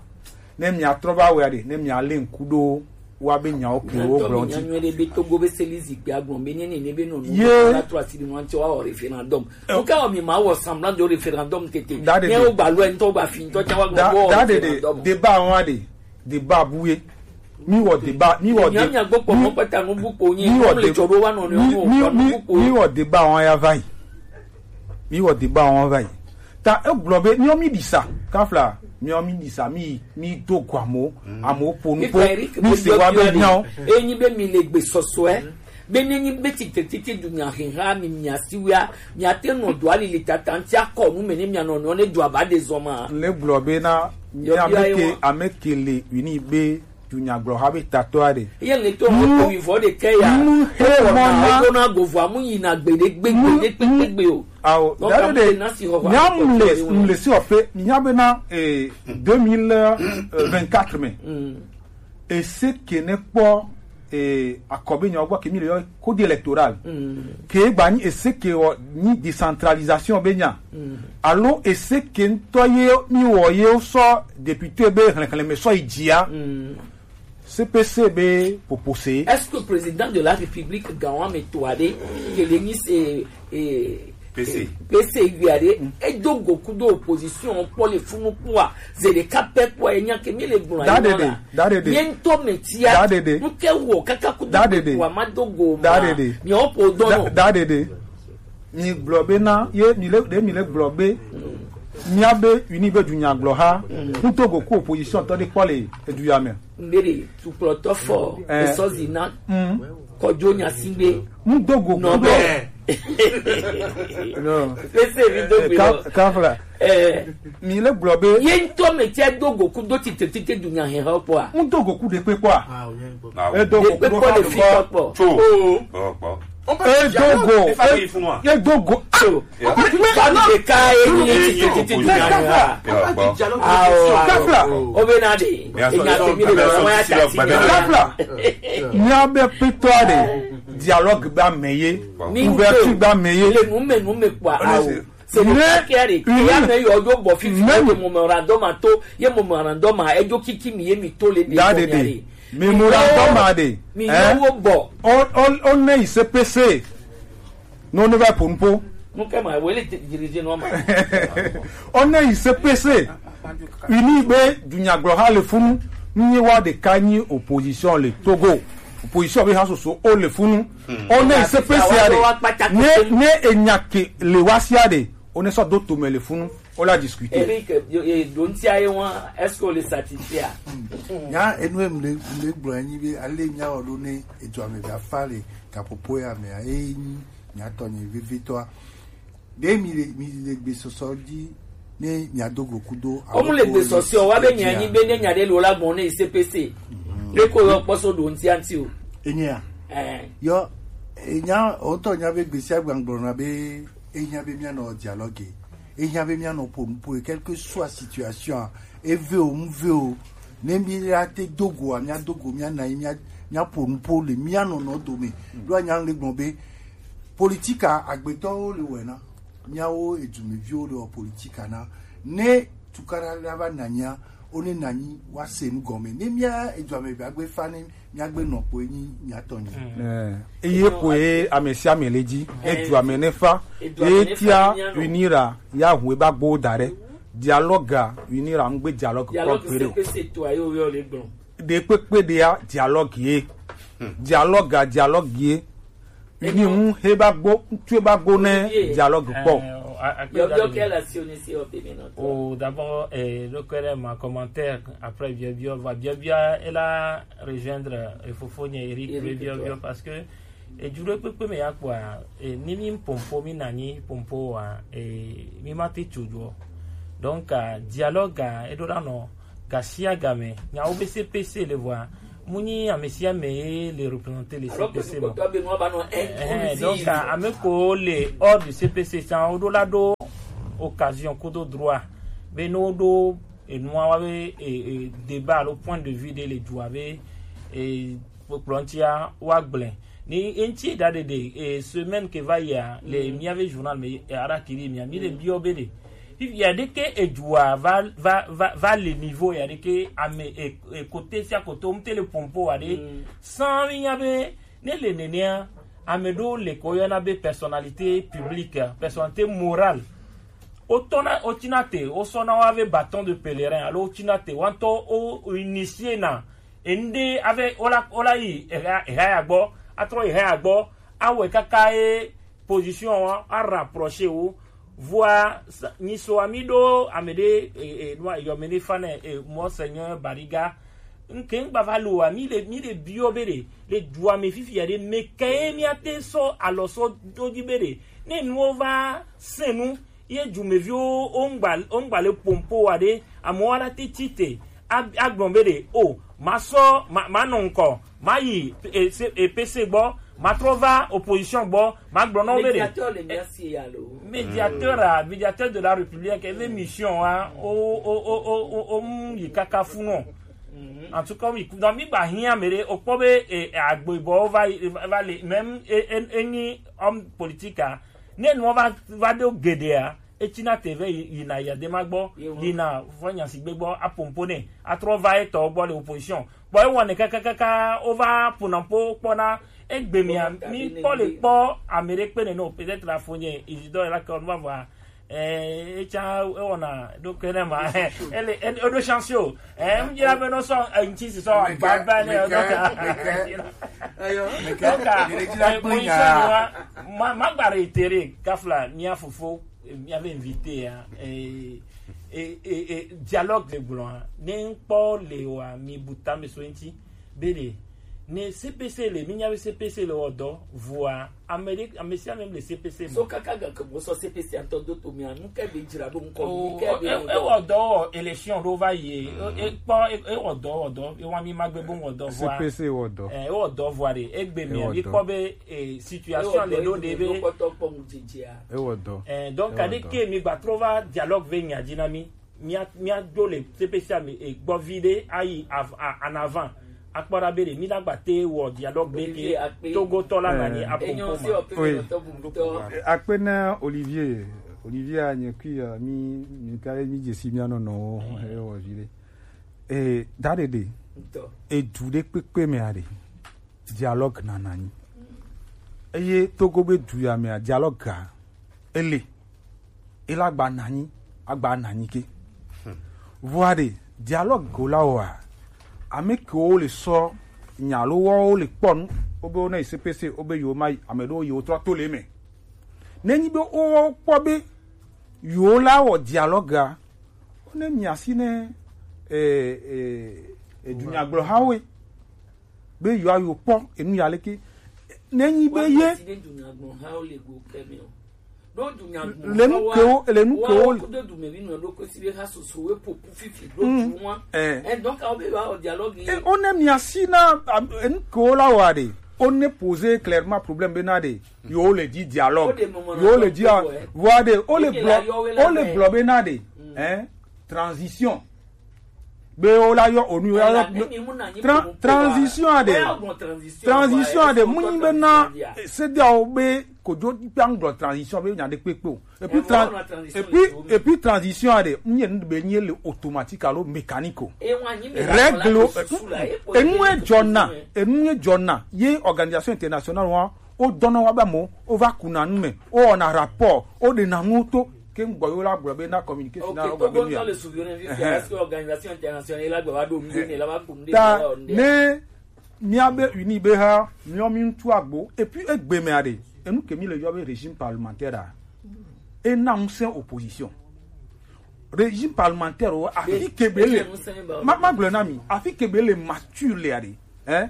ne miatrɔ va wɔe aɖe, ne mialé ŋku ɖo woa be nyawo ke wo gblɔ ŋuti. Nyuie ɖe be Togo be seli zikpui agblɔ be ne nene be nɔ nu ye la trɔ asi ɖe nua ŋuti wa wɔ référendum. Wo ka wɔ mi ma wɔ semblant de référendum tete. Ne wo gba lɔ ŋutɔ gba fi ŋutɔ tsa wa gbɔ wɔ référendum. Débat ŋua ɖe, débat bu ye. Mi wɔ débat, mi wɔ dé, mi wɔ dé, mi wɔ débat wɔn ya va yi. Mi wɔ débat wɔn va yi. Ta egblɔ be mi wɔ mi ɖi sa kafla, mi wɔ mi ɖi sa, mi mi do go amewo, amewo po nupo, mi se wa be nyawo. Enyi be mi le gbe sɔsɔe. Be ne nyi be tite tite du nya heha mi mia siwia, mia te nɔ do ali le tata ŋuti akɔ nu me ne mia nɔ nɔ ne do aba de zɔ ma. Le gblɔ be na mi ame ke, ame ke le wini be dunyagblɔha be tatɔa ɖe. Ye le to mu ko wi vɔ de ke ya. Mu he mɔ na. Ko na go vɔ mu yi na gbe de gbe gbe de gbe gbe gbe o. Awo dade de. Nyam le le si ofe nya be na eh, deux mille vingt-quatre me. Ese ke ne kpɔ eh, akɔbe nyawo gbɔ ke mi le yɔ code électoral. Ke gba nyi ese ke wɔ nyi décentralisation be nya. Alo ese ke ŋutɔ ye mi wɔ ye sɔ député be hlɛhlɛme sɔ yi dzia. C P C be popose. Est-ce que président de la République gawa me to ade ke le nyi se eh, P C. P C yui aɖe, edo go kudo opposition kpɔ le funu kpɔa, ze ɖeka pɛ kpɔa, enya ke mi le gblɔ ayi nɔ la. Dadede. Ye ŋutɔ me tia. Dadede. Nuke wɔ kaka kudo kpɔa ma do go ma. Dadede. Mi o po dɔn. Dadede. Mi gblɔ be na ye mi le ɖe mi le gblɔ be mia be uni be dunya gblɔ ha. Ŋutɔ go ku opposition tɔ de kpɔ le edu ya me. Mbere tukplɔtɔ fɔ esɔzi na kɔdzo nyasingbe. Ŋdo go nɔ be. No. Pese mi do gbe lɔ. Kafla. Eh, mi le gblɔ be ye ŋutɔ me tse do go ku do tite tite dunya he hɔ kpɔa. Ŋdo go ku de kpe kpɔa. Edo go ku do kpe kpɔ le fi kpɔ. Tso. Kpɔ. Edo go. Edo go. Tso. Kanu ɖeka ye nyi titi titi du nya ya. Awo, awo. Kafla. O be na de. Enya te mi le be wa ya ta si. Kafla. Mia be pitɔ de dialogue ba me ye. Ouverture ba me ye. Le nu me nu me kpɔa awo. Se le kake de. Ya me yo yo bɔ fifi de memorandum a to. Ye memorandum a ejo kiki mi ye mi to le de. Dadede. Memorandum a de. Mi yo wo bɔ. O o o ne I C P C. Non, ne va pour po. Nous kama wele dirige no ma. On est I C P C. Uni be dunya glo ha le funu. Ni wa de kanyi opposition le Togo. Opposition be ha soso o le funu. On est I C P C a de. Ne ne enyake le wasia de. On est so do to me le funu. On l'a discuté. Eric, donti aye wan, est-ce que on le satisfait? Ya enu em le le gbo anyi be ale nya o do ne ejo ame ba fa le kapopo ya me a. Miatɔ nye vevitɔa. Ɖe mi le mi le gbesɔsɔ dzi ne miado go kudo. Ɔmu le gbesɔsɔ wa be nya nyi be ne nya ɖe lo la gbɔn ne I C P C. Ɖe ko yɔ kpɔsɔ ɖo ŋti anti o. Enyea. Yɔ enya ɔtɔ nya be gbesia gbangblɔ na be enya be mianɔ dialogue. Ehiã be míanɔ ƒo nu ƒoe, quelle que soit situation, eve o, nuve o, ne míate do goa, míado go, míanɔ anyi, mía- míaƒo nu ƒo le mía nɔnɔ dome. Ɖo anya le gblɔ be politika agbetɔwo le wɔe na, míawo edumeviwo le wɔ politika na. Ne tukaɖa la va nɔ anyia, wo ne nɔ anyi woase nu gɔme. Ne mía eduame be agbe fa ne míagbe nɔ kpoe nyi míatɔ nyi. Eye kpoe ame sia ame le dzi. Edu ame ne fa. Eye tia unira ya hu eba gbo da ɖe. Dialoga unira ŋgbe dialogue kpɔ kpe ɖe o. Ɖe kpekpe ɖea dialogue ye. Dialoga dialogue ye. Ni ŋu he ba gbo, ŋutsu ba gbo ne dialogue kpɔ. Yɔyɔ kɛ la si o ni si o pe mi nɔ tɔ. Oh, d'abord, eh, le kɛrɛ ma commentaire, après biabia, va biabia, elle a rejoindre, eh, Fofo nye Eric, Eric, biabia, parce que, eh, du le kpekpe me ya kpɔa, eh, ni mi pompo, mi nɔ anyi pompo wa, eh, mi ma te tso jɔ. Donc, euh, dialogue, euh, eɖo la nɔ gasiaga me. Nyawo be C P C le voa. Munyi amesiame le représenter le Alors que C P C nous bon. Comptons avec nous, bah non, eh, donc, euh, ame ko le hors du C P C, ça, oɖo la ɖo occasion kodo droit. Be no ɖo enua wa be, eh, eh, débat alo point de vue de le dua be, eh, kplɔntia wa gblẽ. Ni eŋti da ɖeɖe, eh, semaine ke va yia, le miabe journal me, eh, ara kiri mia, mi le biɔ be ɖe. Fifi ya ɖe ke edua va, va, va, va le niveau ya ɖe ke ame, eh, eh, côté sia côté, omte le pompo wa ɖe. Sans mi nya be, ne le nenea, ame ɖo le ko yɔna be personnalité publique, personnalité morale. Wotɔna, wotina te, wosɔna wa be bâton de pèlerin, alo wotina te, wantɔ o, o initier na, ende ave, ola, ola yi, eha, eha ya gbɔ, atrɔ eha ya gbɔ, awɛ kaka ye position wa, a rapprocher wo, voa, sa- nyi so ami ɖo, ame ɖe, e, e, nua, yɔ me ne fa ne, e, Monseigneur Bariga, nke ŋgba va lo wa, mi le, mi le biɔ be ɖe, le dua me fifi ya ɖe, me ke ye mi ate sɔ, alɔ sɔ do dzi be ɖe, ne nuwo va se nu, ye dumeviwo wo ŋgba, wo ŋgba le pompo wa ɖe, amewo ala te tsi te, a, agblɔ be ɖe, o, ma sɔ, ma, ma nɔ ŋkɔ, ma yi, e, se- e, P C gbɔ, ma trɔ va opposition gbɔ, ma gblɔ na wo be ɖe. Médiateur le mia si ya lo. Médiateur, ah, médiateur de la République, ele mission, ah, o, o, o, o, o, o, mu yi kaka fu nɔ. En tout cas, mi, donc, mi gba hiã me ɖe, o kpɔ be, e, e, agbo bɔ va, va, va le, même, e, e, e, nyi homme politique, ah, ne nua va, va ɖo geɖea, etsina te ve yi- yina Yadema gbɔ, yina Fɔnyasigbe gbɔ, apompo nɛ, atrɔ va etɔ gbɔ le opposition. Bɔ ewɔ ne kakakaka, wova ponampo kpɔna, egbe mia, mi kpɔ le kpɔ, ame ɖe kpe ne no, peut-être la fonye, Isidore la kɔ, no va vɔa, eh, etsa, ewɔna, ɖo ke ne ma, ele, ele, eɖo chance o, eh, mi dzra be no sɔ, eh, ŋti si sɔ, Mika, agba ne, Mika, donc, Mika. Ayo, donc, Mika, eh, position wa, ma, ma gba réitérer, kafla, mia fofo, mia be invité ya, eh, eh, eh, eh, dialogue de gblɔ, ne ŋkpɔ le wa, mi buta me so ŋti, be ɖe, ne C P C le, mi nya be C P C le wɔ dɔ, vɔa, ame ɖe, ame sia ame le C P C me. So kaka ga ke mo sɔ C P C ŋutɔ do to mia, nu ke be dzra ɖo ŋkɔ, Oh, nu ke be e, ewɔ dɔ wɔ élection ɖo va yi, e, e kpɔ, e, ewɔ dɔ, wɔ dɔ, ewa mi ma gbe bo wɔ dɔ vɔa. C P C wɔ dɔ. Eh, ewɔ dɔ vɔa ɖe, egbe mi, mi kpɔ be, eh, situation le ɖo ɖe be. Ewɔ dɔ. Eh, donc, kade ke mi gba trɔ va dialogue ve nya dzi na mi. Mia, mia do le C P C ame, eh, gbɔ vi ɖe ayi av- a- en avant. Akpɔ ɖa be ɖe mi na gba te wɔ dialogue ɖe ke Togo tɔ la na nyi apompo ma. Oui. Akpe na Olivier. Olivier a nye kui ya mi, mi ka mi dzesi mia nɔnɔwo, ewɔ vi ɖe. Eh, da ɖe ɖe. Edu ɖe kpekpe me a ɖe. Dialogue nana anyi. Eye Togo be du ya mea, dialogue ga ele. Ela gba nanyi, agba nanyi ke. Vɔa ɖe, dialogue go la wa. Ame kewo le sɔ nya lo wo le kpɔ nu, wo be wo na yi C P C, wo be yo ma yi, ame ɖewo yi wo trɔ to le me. Ne nyi be wo kpɔ be yo la wɔ dialogue ga, wo ne mia si ne, eh, eh, eh, dunyagblɔhawo be yewoayi kpɔ enu ya leke. Nenyi be ye le nu kewo, le nu kewo. Mm. Eh. Eh, one mia si na, am, enu kewo la wa ɖe. One poser clairement problème be na ɖe. Yo le di dialogue. Yo le di a, wa ɖe. Ole gblɔ, ole gblɔ be na ɖe. Eh, transition. Be wo la yɔ onu, wo la yɔ tran- transition a ɖe. Transition a ɖe. Mu nyi be na sediawo be kodzo kpe ŋgblɔ transition be nya ɖe kpekpe o. Et puis tran- et puis, et puis transition a ɖe, mu nyi nu be nyi le automatique alo mécanique o. Règle o, enu e dzɔna, enu e dzɔna ye organisation internationale wa, wo dɔnɔ wa be amewo, wo va kuna nu me, wo wɔna rapport, wo ɖena nuwo to. Ke ŋgbɔ yewo la gblɔ be na communiqué si na wo gblɔ be nu ya. Est-ce que organisation internationale la gba va ɖo nu ɖe ne la va ƒo nu ɖe ta ne mía be uni be ha mía mi ŋutu agbo. Et puis egbe me aɖe, enu ke mi le yɔ be régime parlementaire a, e na ŋusẽ opposition. Régime parlementaire o, afi ke be le, ma, ma gblɔ na mi, afi ke be le mature le aɖe, hein?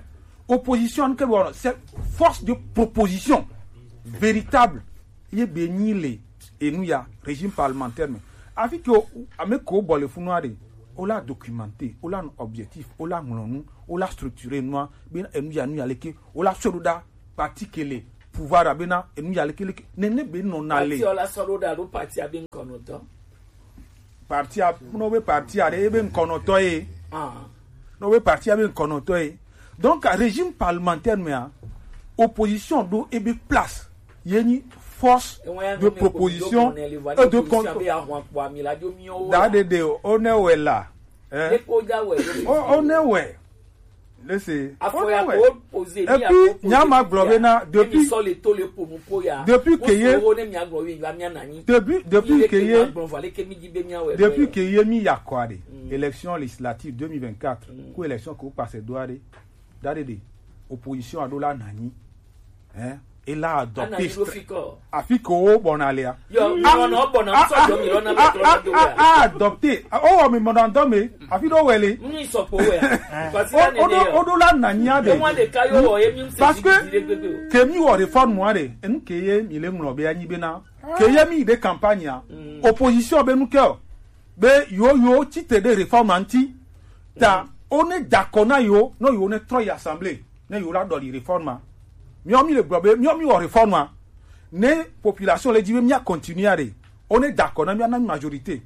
Opposition ke be wɔnɔ, c'est force de proposition véritable. Ye be nyi le enu ya, régime parlementaire me. Afi ke o, ame ke wo bɔ le funu a ɖe, o la documenter, o la nɔ objectif, o la ŋlɔ nu, o la structurer nua, be enu ya nu ya leke, o la sɔ ɖo ɖa parti ke le pouvoir a be na enu ya leke leke, nene be nɔ na le. Parti o la sɔ ɖo ɖa ɖo parti a be ŋkɔnɔtɔ. Parti a, no be parti a ɖe, e be ŋkɔnɔtɔ ye. Ah. No be parti a be ŋkɔnɔtɔ ye. Donc, régime parlementaire mea, opposition ɖo ebe place. Ye nyi force de proposition et de contre. Da ɖeɖe o, o ne wɛ la. Eh? O, o ne wɛ. Lese, o ne wɛ. Et puis, nya ma gblɔ be na, depuis, depuis que ye, depuis, depuis que ye, depuis que ye mi ya kɔ a ɖe, élection législative deux mille vingt-quatre, ku élection ke wo passe do a ɖe, da ɖeɖe, opposition a ɖo la na anyi. Hein? E la adopté. Afi ke wo bɔna lea. Yo, mi nɔ bɔna, mi sɔ jɔ mi lɔ na mi trɔ na do wɛ. A adopté. O wɔ mi mɔna dɔ me. Afi ɖo wɛ le. Mi sɔ po wɛ. O ɖo, o ɖo la na nya de. Parce que ke mi wɔ réforme a ɖe, enu ke ye mi le ŋlɔ be anyi be na. Ke ye mi de campagne a. Opposition be nu ke o. Be yo yo tite de réforme anti. Ta o ne dakɔ na yo, no yo ne trɔ yi assemblée, ne yo la ɖɔli réforme a. Miɔ mi le gblɔ be, miɔ mi wɔ réforme a. Ne population le dzi be mia continuer a ɖe, o ne dakɔ na mia na majorité.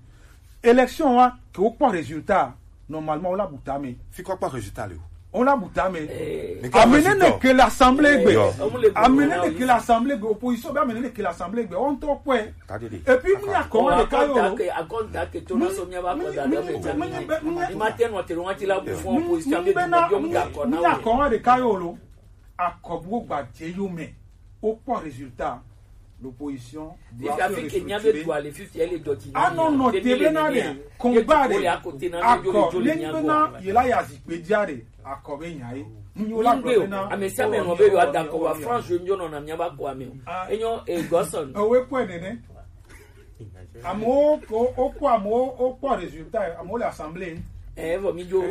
Élection wa ke wo kpɔ résultat, normalement o la bu ta me. Fi kɔ kpɔ résultat le o. O la bu ta me. Ame ne ne ke le assemblée gbe. Ame ne ne ke le assemblée gbe. Opposition be ame ne ne ke le assemblée gbe. O ŋutɔ kpɔe. Et puis, mi nya kɔn ɖeka yo lo. Mi nya kɔn ɖeka yo lo. Akɔbuwo gba dze yo me. O kpɔ résultat. L'opposition doit se restructurer. Anɔ nɔ te be na ɖe, combat ɖe, akɔ ne nyi be na ye la ya zikpe dzi a ɖe, akɔ be nya ye. Nunyo la gblɔ be na ame sia ame nɔ be yewoada akɔ wa France je nyo nɔ na miaba kɔ ame o. Enyo e Godson. Ewe kpɔe nene. Amewo ko wokpɔ, amewo wokpɔ résultat, amewo le assemblée. Ɛ vɔ mi dzo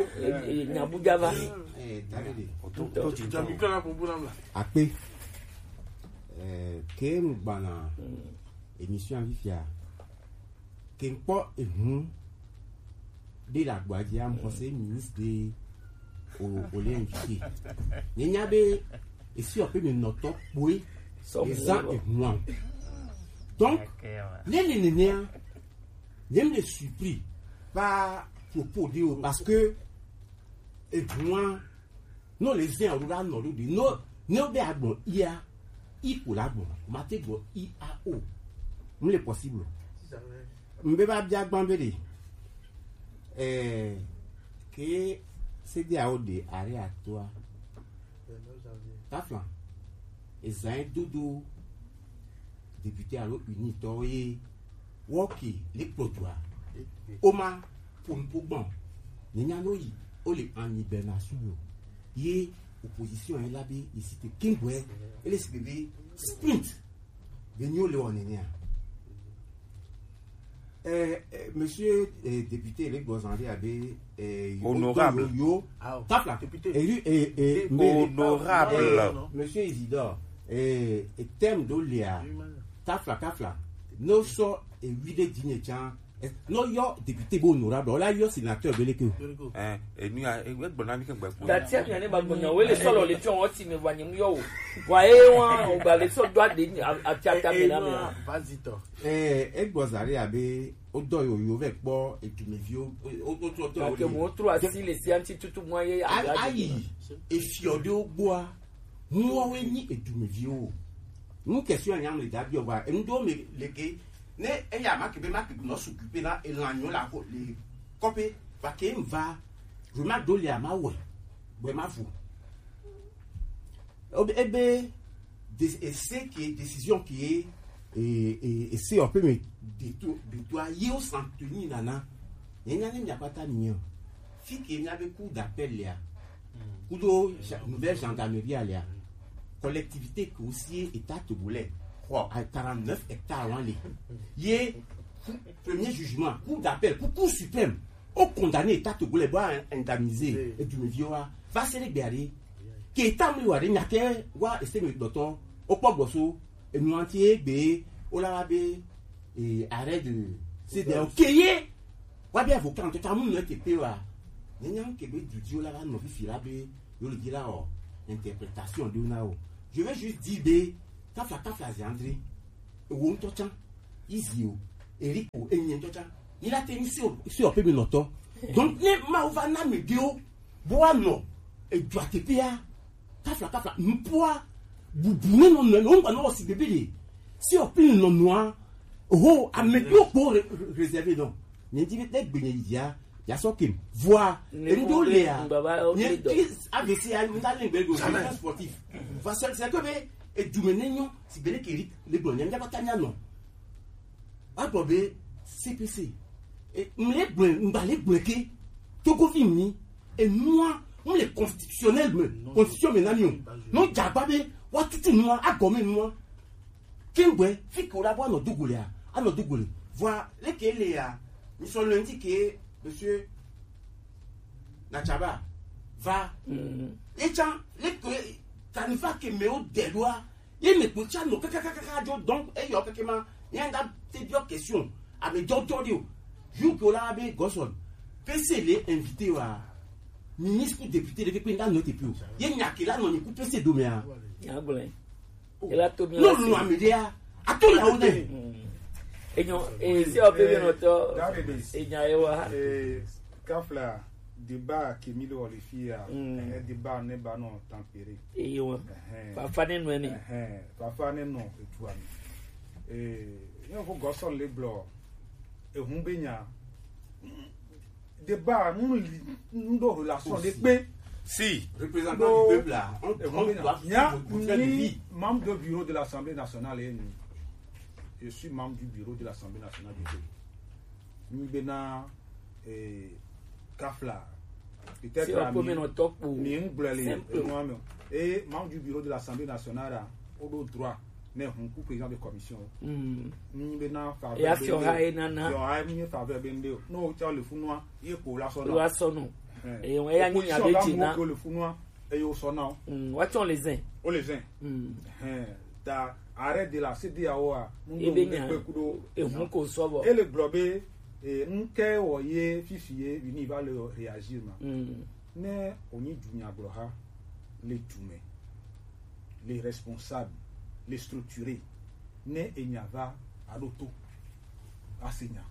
nyabuja va. Akpe. Ke ŋgbana émission fifia, ke ŋkpɔ ehun ɖe le agboa dzi, am xɔse ministre ɖe o, o le invité. Nye nya be esi ɔƒe me nɔtɔ kpoe ezã ehun a. Donc ne le nenea, nye me le surpris par propos ɖe o, parce que ehun a, no le zin a wo la nɔ ɖo ɖi. No, ne wo be agbɔn ia, i ko la gbɔn. Ma te gbɔn i a o. Mu le possible. Mbe ba bia gban be ɖe. Eh, ke se de a o de are atoa. Taflan. Ezan dodo député alo unitɔ ye. Wɔ ke le kplɔ dua. O ma ƒo nuƒo gbɔn. Nye nya no yi, o le anyi bena su yo. Ye opposition ye la be, ye si te kingwe, ele si be sprint. Be nyo le wɔ nenea. Eh, eh, monsieur, eh, député, le gozande abe, eh, yo, honorable. Yo, yo. Tafla. Député. Élu, eh, eh, honorable. Eh, monsieur Isidore, eh, eh, thème do lia. Tafla, tafla. No so, eh, wi de dine chan. Eh, no yo député bo honorable. Ola yo sénateur beleke. Eh, eh, ni a, eh, we gbona mi ke gbe. Dati a mi ane ba gbona. We le solo le pion o ti me wa nyim yo. Wa e wa, o ba le so do ade ni a, a ti ata me na me. Vas-y, toi. Eh, e gbɔ zari abe o dɔ yo yo vɛ kpɔ edumeviwo, o, o, o trɔ tɔ. Ke mo trɔ asi le si anti tutu mo ye. Ayi, efiɔ ɖewo gbɔa, muwoawoe nyi edumeviwo. Nu question ya nyam le da biɔ va, enu ɖewo me le ke, ne eya ma ke be ma ke nɔ s'occuper na elanyo la ko le kɔƒe, va ke m va, je ma do le ama wɛ, bɛ ma vo. Ebe, ebe, de-, ese ke, décision ke, e, e, ese o pe me, de to, de to a ye o san tenir nana. Ye nya ne mia kpata mi o. Fi ke mia be cour d'appel ya. Kudo ja-, nouvelle gendarmerie ya. Collectivité ke aussi état togolais. Quoi, à quarante-neuf hectares, on les. Ye, premier jugement, cour d'appel, pour cour suprême. O condamné état togolais bo indemniser edumeviwo wa. Va se ɖe gbea ɖe. Ke état mi wa ɖe nya ke wa ese mi dɔtɔ. O kpɔ gbɔ so. Enu anti egbe o la wa be, eh, arrêt de C'est des ok ye. Wa be avocat ŋutɔ ta mu nɔ ke pe wa. Nyanya ke be dudio la va nɔ fifi la be yo le di la o. Interprétation de na o. Je vais juste dire be tafla tafla zi André. Ewo ŋutɔ tsa. Izi o. Eric o. Enye ŋutɔ tsa. Il a tenu sur sur pe mi nɔtɔ. Donc ne ma va na me de o. Bo wa nɔ. Edu ateƒea. Kafla kafla. Nupua. Bubu ne nɔ nɔ nɔ ŋgba nɔ si bebe de. Si o pin nɔ nɔa. Oho, ame kplo kpo re- re- réservé non. Nye di be gbe nye ya. Ya sɔ kem. Voa. Enu do le ya. Nye ki A V C ya nda le gbe go. Jamais sportif. Va sel se ko be edume ne nyo si bele ke ri le gbe nye nda kata nya nɔ. Agblɔ be C P C. E, mle gblɔe, ŋgba le gblɔe ke. Togovi mi. Enua, mle constitutionnel me. Constitution me na mi o. No jagba be, wa tutu nua, agɔme nua. Kengbe, fi ke o la bo anɔ dogo le a, anɔ dogo le. Voilà, le ke le a. Mi sɔ lundi ke, monsieur Nachaba, va. Mm. Etsa, le ke, kanifa ke me o dɛdoa. Ye me kpo tsa nɔ kakakaka jo donc eyɔ keke ma. Ye ŋda te biɔ question. Ame jɔjɔ de o. Ju ke o la be Godson. P C le invité wa. Ministre ku député de kpekpe ŋda nɔ te pi o. Ye nya ke la nɔ ni ku P C do me a. Nya gblẽ. Ela to mi no la nu ame de a. Ato ya o de. Enyo, eh, si o pe no to. That it is. Enya e wa. Eh, kafla débat ke mi le wɔ le fi ya. Mm. Eh, débat ne ba nɔ tempéré. Eyo. Ɛhɛn. Fafa ne nɔ ne. Ɛhɛn. Fafa ne nɔ etu ami. Eh, ne ko Godson le gblɔ. Ehun be nya. Débat, nous, nous, nous, relation de paix. Si. Représentant du peuple là, on, on doit faire de vie. Membre de bureau de l'Assemblée nationale, et nous, je suis membre du bureau de l'Assemblée nationale du pays. Nous, maintenant, eh, kafla. Peut-être à mi, mi, simple. Et membre du bureau de l'Assemblée nationale, là, on a droit. Ne hun ku président de commission. Mm. Ni be na faveur. Ya be fiɔ ha e nana. Fiɔ ha e mi faveur be nde o. No o tsa le funua, ye ko la sɔna. La sɔnu. Eh. E won ya ni nya be jina. Ko le funua, e yo sɔna o. Mm, wa tsa le zen. O le zen. Mm. Eh, ta arrêt de la C D A O a. E be nya. Pe kudo. E hun ko sɔbɔ. E le gblɔ be, e nke wo ye fifi ye, uni va le réagir ma. Mm. Ne o ni du nya gblɔ ha, le du me. Les responsables, les structurés, ne enya va aɖo to, ase nya,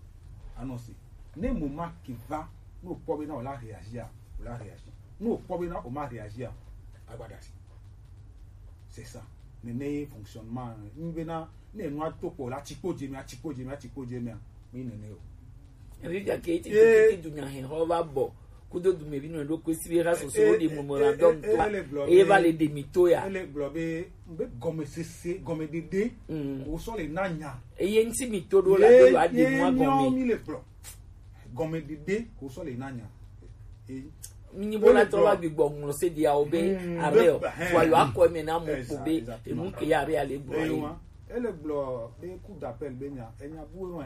anɔ se. Ne moment ke va, ne wokpɔ be na wòla réagir a, wòla réagir. Ne wokpɔ be na wòma réagir a, agba ɖe asi. C'est ça. Nene ye fonctionnement. Nyi be na ne enua to kpɔ la, tsikpo dze mea, tsikpo dze mea, tsikpo dze mea, mi nene o. Ebi gake eti tete dunya hɛn xɔ va bɔ kudo dumevi nɔ ɖo kpe si be ha soso wo ɖe memorandum to a, eye va le ɖe mi to ya. Ele gblɔ be be gɔmesese, gɔmeɖeɖe ko sɔ le na nya. Eye ŋti mi to ɖo la be va ɖe nua gɔme. Mi le gblɔ gɔmeɖeɖe ko sɔ le na nya. Nyi bo la trɔ va gbigbɔ ŋlɔ se dia o be are o, wa yo akɔ me na mo ko be enu ke ya be ale gblɔ ye. Ele gblɔ be coup d'appel be nya, enya bu e.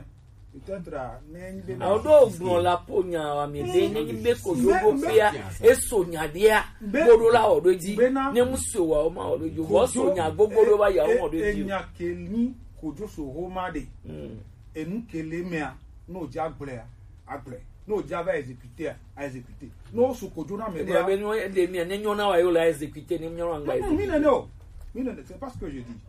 Peut-être, ne nyi be awo ɖo gblɔ la po nya wa mi be ne nyi be ko yo go fia eso nya dia bodo la o do dzi ne mu so wa o ma o do dzi o so nya gogo do ba ya o ma o do dzi. Enya ke ni kojo so ho ma de. Enu ke le mea, no ja gblea, agble. No ja va exécuter, a exécuter. No su kojo na me de. Be no de mi ne nyo na wa yo la exécuter, ni nyo na ngba. Mi ne no. Mi ne, c'est pas ce que je dis.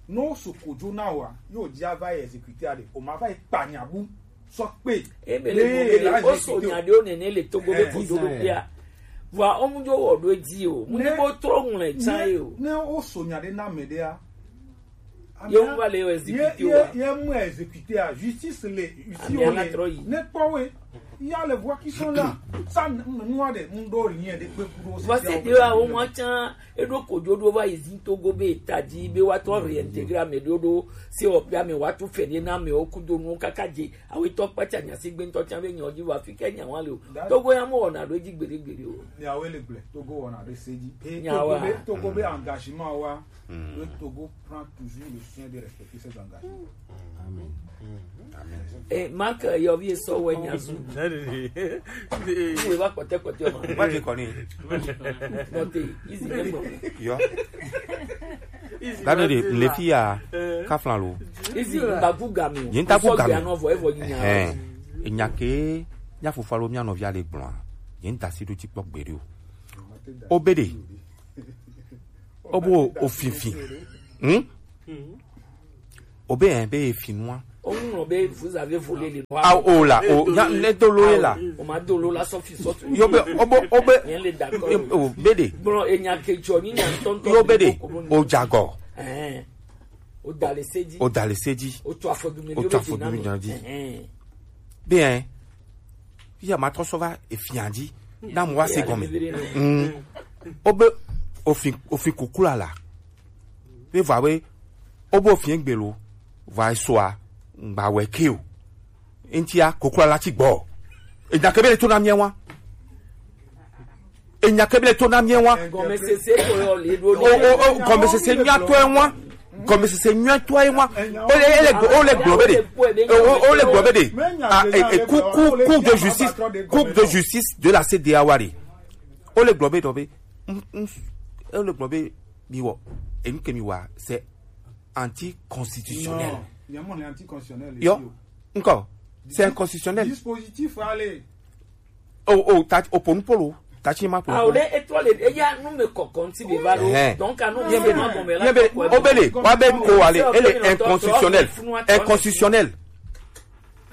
No su kojo na wa, yo ja va exécuter a de. O ma va e pa nya bu. Sɔ kpe. Ebe le mo be le o so nya de o nene le Togo be kojo do bia. Wa o mu jo wo do dzi o. Mu ni bo tro ŋlɛ tsa e o. Ne o so nya de na me de a. Ye mu va le exécuter wa. Ye mu exécuter a justice le ici o le. Ne kpɔ we. Il y a les voix qui sont là. Ça, nous a des, nous donnons rien de peu pour nous. Voici de la au moins tsa eɖo kojo ɖo va yi zi Togo be ta dzi be wa tɔ réintégrer ame ɖo ɖo se o pe ame wa tu fɛ ne na ame o kudo nu kaka dze awo tɔ kpatsa nya si gbe ŋutɔ tsa be nya o dzi wa fi ke nya wa le o. Togo ya mo wɔna ɖo edzi gbeɖe gbeɖe o. Nya wo le gblẽ Togo wɔna ɖo se dzi. Nya wa. Togo be engagement wa. Le Togo prend toujours le soin de respecter ses engagements. Amen. Amen. Eh, Marc, yɔvi esɔ wɛ nya zu. Wo va kpɔtɛ kpɔtɛ ma. Wa ke kɔni. Kpɔtɛ, izi ne gbɔ. Yo. Dani de le fi ya kaflan lo. Izi ngbagu game. Yen ta gu game. Anɔ vɔ evɔ yi nya. Ɛhɛn. Enya ke nya fofo alo mia nɔvi ale gblɔa. Yen ta si ɖo ti kpɔ gbe ɖo. Obede. Obo ofinfin. Hmm? Obe hein be efinua. Oŋlɔ be vous avez volé le noir. Ah, o la, o nya ne do lo ye la. O ma do lo la sɔfi sɔtu. Yo be obo obe. Yen le d'accord. O bede. Bon, enya ke jɔ ni nya ntɔntɔ. Yo bede. O jagɔ. Ɛhɛn. O dale sedi. O dale sedi. O to afɔdumi. O to afɔdumi nya di. Ɛhɛn. Bien. Fi ya ma trɔ sɔ va efia dzi na mo wa se gɔme. Mm. Obe ofin ofin kukula la. Be va we obe ofin gbe lo. Va esoa ngba we ke o. Ntia kukula la ti gbɔ. E da ke be le to na mi wa. Enya ke be le to na mi wa. Gɔmesese ko yɔ le ɖo. O o o gɔmesese nyuitɔ ye wa. Gɔmesese nyuitɔ ye wa. O le ele o le gblɔ be de. O o o le gblɔ be de. Ah, e e cour cour cour de justice, cour de justice de la C D A O wa de. O le gblɔ be dɔ be. Mm, mm, o le gblɔ be mi wɔ. Enu ke mi wa c'est anticonstitutionnel. Non, il y a mon anticonstitutionnel. Yo, ici, oh. Encore, c'est inconstitutionnel. Dispositif ale. O o ta o ponu polo ta ti ma ponu. Ah, o le étoile e ya nu me kɔkɔ nti be va lo. Ɛhɛn. Donc anu bien be ma bon me la bien be o be le wa be ko ale ele inconstitutionnel. Inconstitutionnel.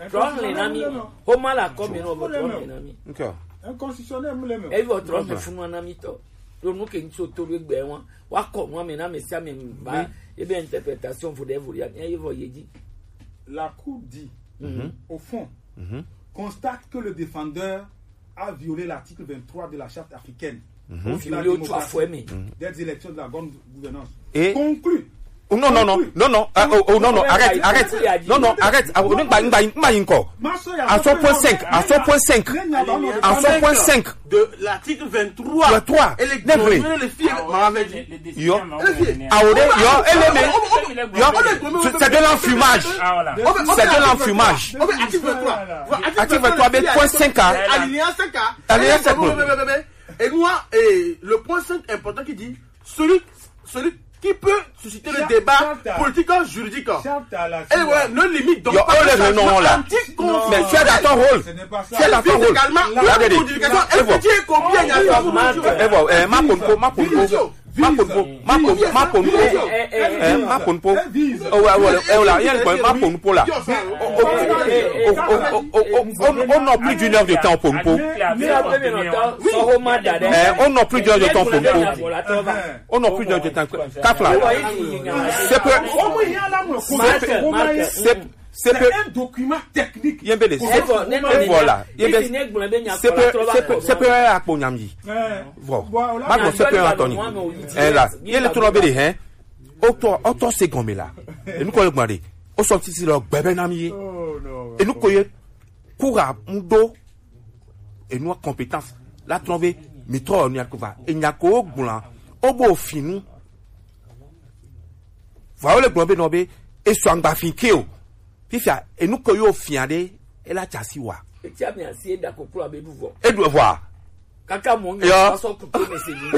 Trɔn le na mi. Homa la kɔ mi no bo trɔn le na mi. Okay. Inconstitutionnel mu le me. E vo trɔn le funu na mi tɔ. Lo nu ke nso to be gbe wa. Wa kɔ nu ame na me si ame ba. E be interprétation vo de vo ya. E vo ye di. La Cour dit, au fond, constate que le défendeur a violé l'article vingt-trois de la Charte africaine sur la démocratie, des élections de la bonne gouvernance. Et conclut. Oh, non, non, non, non, non, ah, oh, oh, non, non, arrête, arrête. Non, non, arrête. Ah, oh, non, bah, bah, bah, encore. À son point cinq, à son point cinq, à son point cinq. De l'article vingt-trois. Vingt-trois. Et les, les filles, ma avait dit. Yo. Awore, yo, ele me. Yo, c'est de l'enfumage. C'est de l'enfumage. Article vingt-trois, point cinq A. Alinéa cinq A. Alinéa cinq A. Et moi, et le point cinq important qui dit, celui, celui qui peut susciter le débat politique juridique. Et voilà, ne limite donc pas le changement anti-constitutionnel. Mais tu es dans ton rôle. Tu es dans ton rôle. Également, la modification. Est-ce que tu es combien? Evo, eh, ma ponpo, ma ponpo. Ma ponpo, ma ponpo, ma ponpo. Eh, ma ponpo. Oh ouais, ouais, eh, là, il y a le point, ma ponpo là. Oh, oh, oh, oh, oh, oh, oh, oh, oh, non, plus d'une heure de temps, ponpo. Eh, oh non, plus d'une heure de temps, ponpo. Oh non, plus d'une heure de temps. Kafla. C'est que, c'est, c'est C'est que un document technique. Yembele, c'est voilà. Yembele, c'est que, c'est que akpo nyamdi. Bon, ma bon, c'est que Anthony. Eh là, il est trop belle, hein. Auto, auto c'est comme là. Et nous, quand on a dit, au sorti, c'est le bébé nami. Et nous, quand il court à mudo, et nous, compétence, la trouvé, mitro, on y a kova. Et n'y a ko gula, obo finu. Voilà le gombe nobe, et soit ngba fin keo. Fifia, enu ko yo fia ɖe, ela tsa si wa. Etsi ame asi eda koklo abe ɖu vɔ. Eɖu vɔa. Kaka mɔ ŋgbe. Yo. Asɔ kuto me se ni.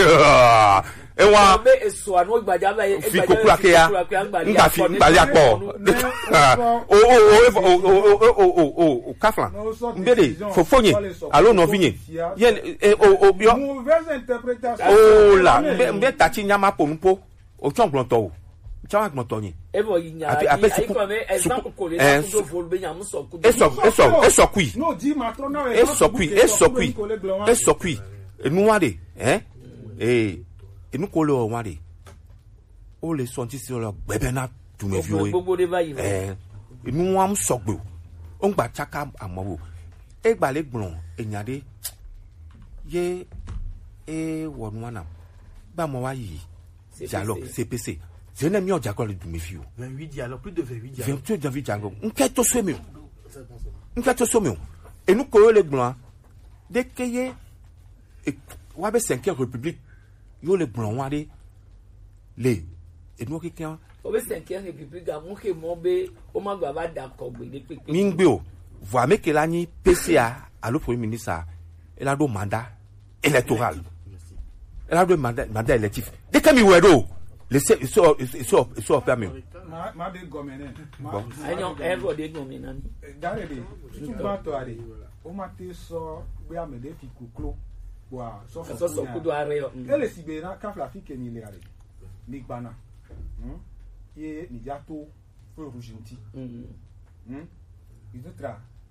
Ewa. Be esɔ anu gbadza va ye. Fi koklo ake ya. Nga fi ngba ya kpɔ. O o o o o o o o o o kafla. Mbede fofonye alo nɔvinye. Ye e o o yo. Mauvaise interprétation. O la mbe mbe tatsi nyama ponupo. O tsɔ gblɔtɔ o. Tsɔ gblɔtɔ nyi. Evɔ yi nya. Ape ape suku suku. Ɛ su. Esɔ esɔ esɔ kui. Esɔ kui esɔ kui esɔ kui. Enua de ɛ. Ee enu ko le wa de. O le sɔnti si lɔ gbɛbɛ na dumeviwo ye. Ɛ enua mu sɔgbe o. O ŋgba tsaka amɔ o. Egba le gblɔ enya de. Ye e wɔ nua na. Gba mɔ wa yi. Dialogue, C P C. Je n'ai mis au dialogue de mes filles. Vingt-huit dialogues, plus de vingt-huit dialogues. Vingt-huit dialogues. Nkɛ to so mi o. Nkɛ to so mi o. Enu ko yo le gblɔ. De ke ye. E, wa be cinquième république. Yo le gblɔ wa de. Le. Enu keke. O be cinquième république, amu ke mɔ be, o ma gba va da kɔ gbe de kpekpe. Mi ŋgbe o. Vɔ ame ke la nyi P C A alo premier ministre. E la do mandat. Électoral. Ela ɖo mandat, mandat électif. Ɖeke mi wɛ ɖo. Ese ese ese ese ɔƒea me o. Ma ma de gɔme nɛ. Ma Bon. ma Enyo de gɔme. Evo de gɔme na mi. Dare de. Tutu ba tɔ are. O ma te sɔ be ame de fi koklo. Wa sɔ Sɔsɔ kudo are yo. Mm. Ele si be na kafla fi ke mi le are. Mi gbana. Hmm? Ye mi ja to feu rouge nti. Mm. Hmm? Mi to tra.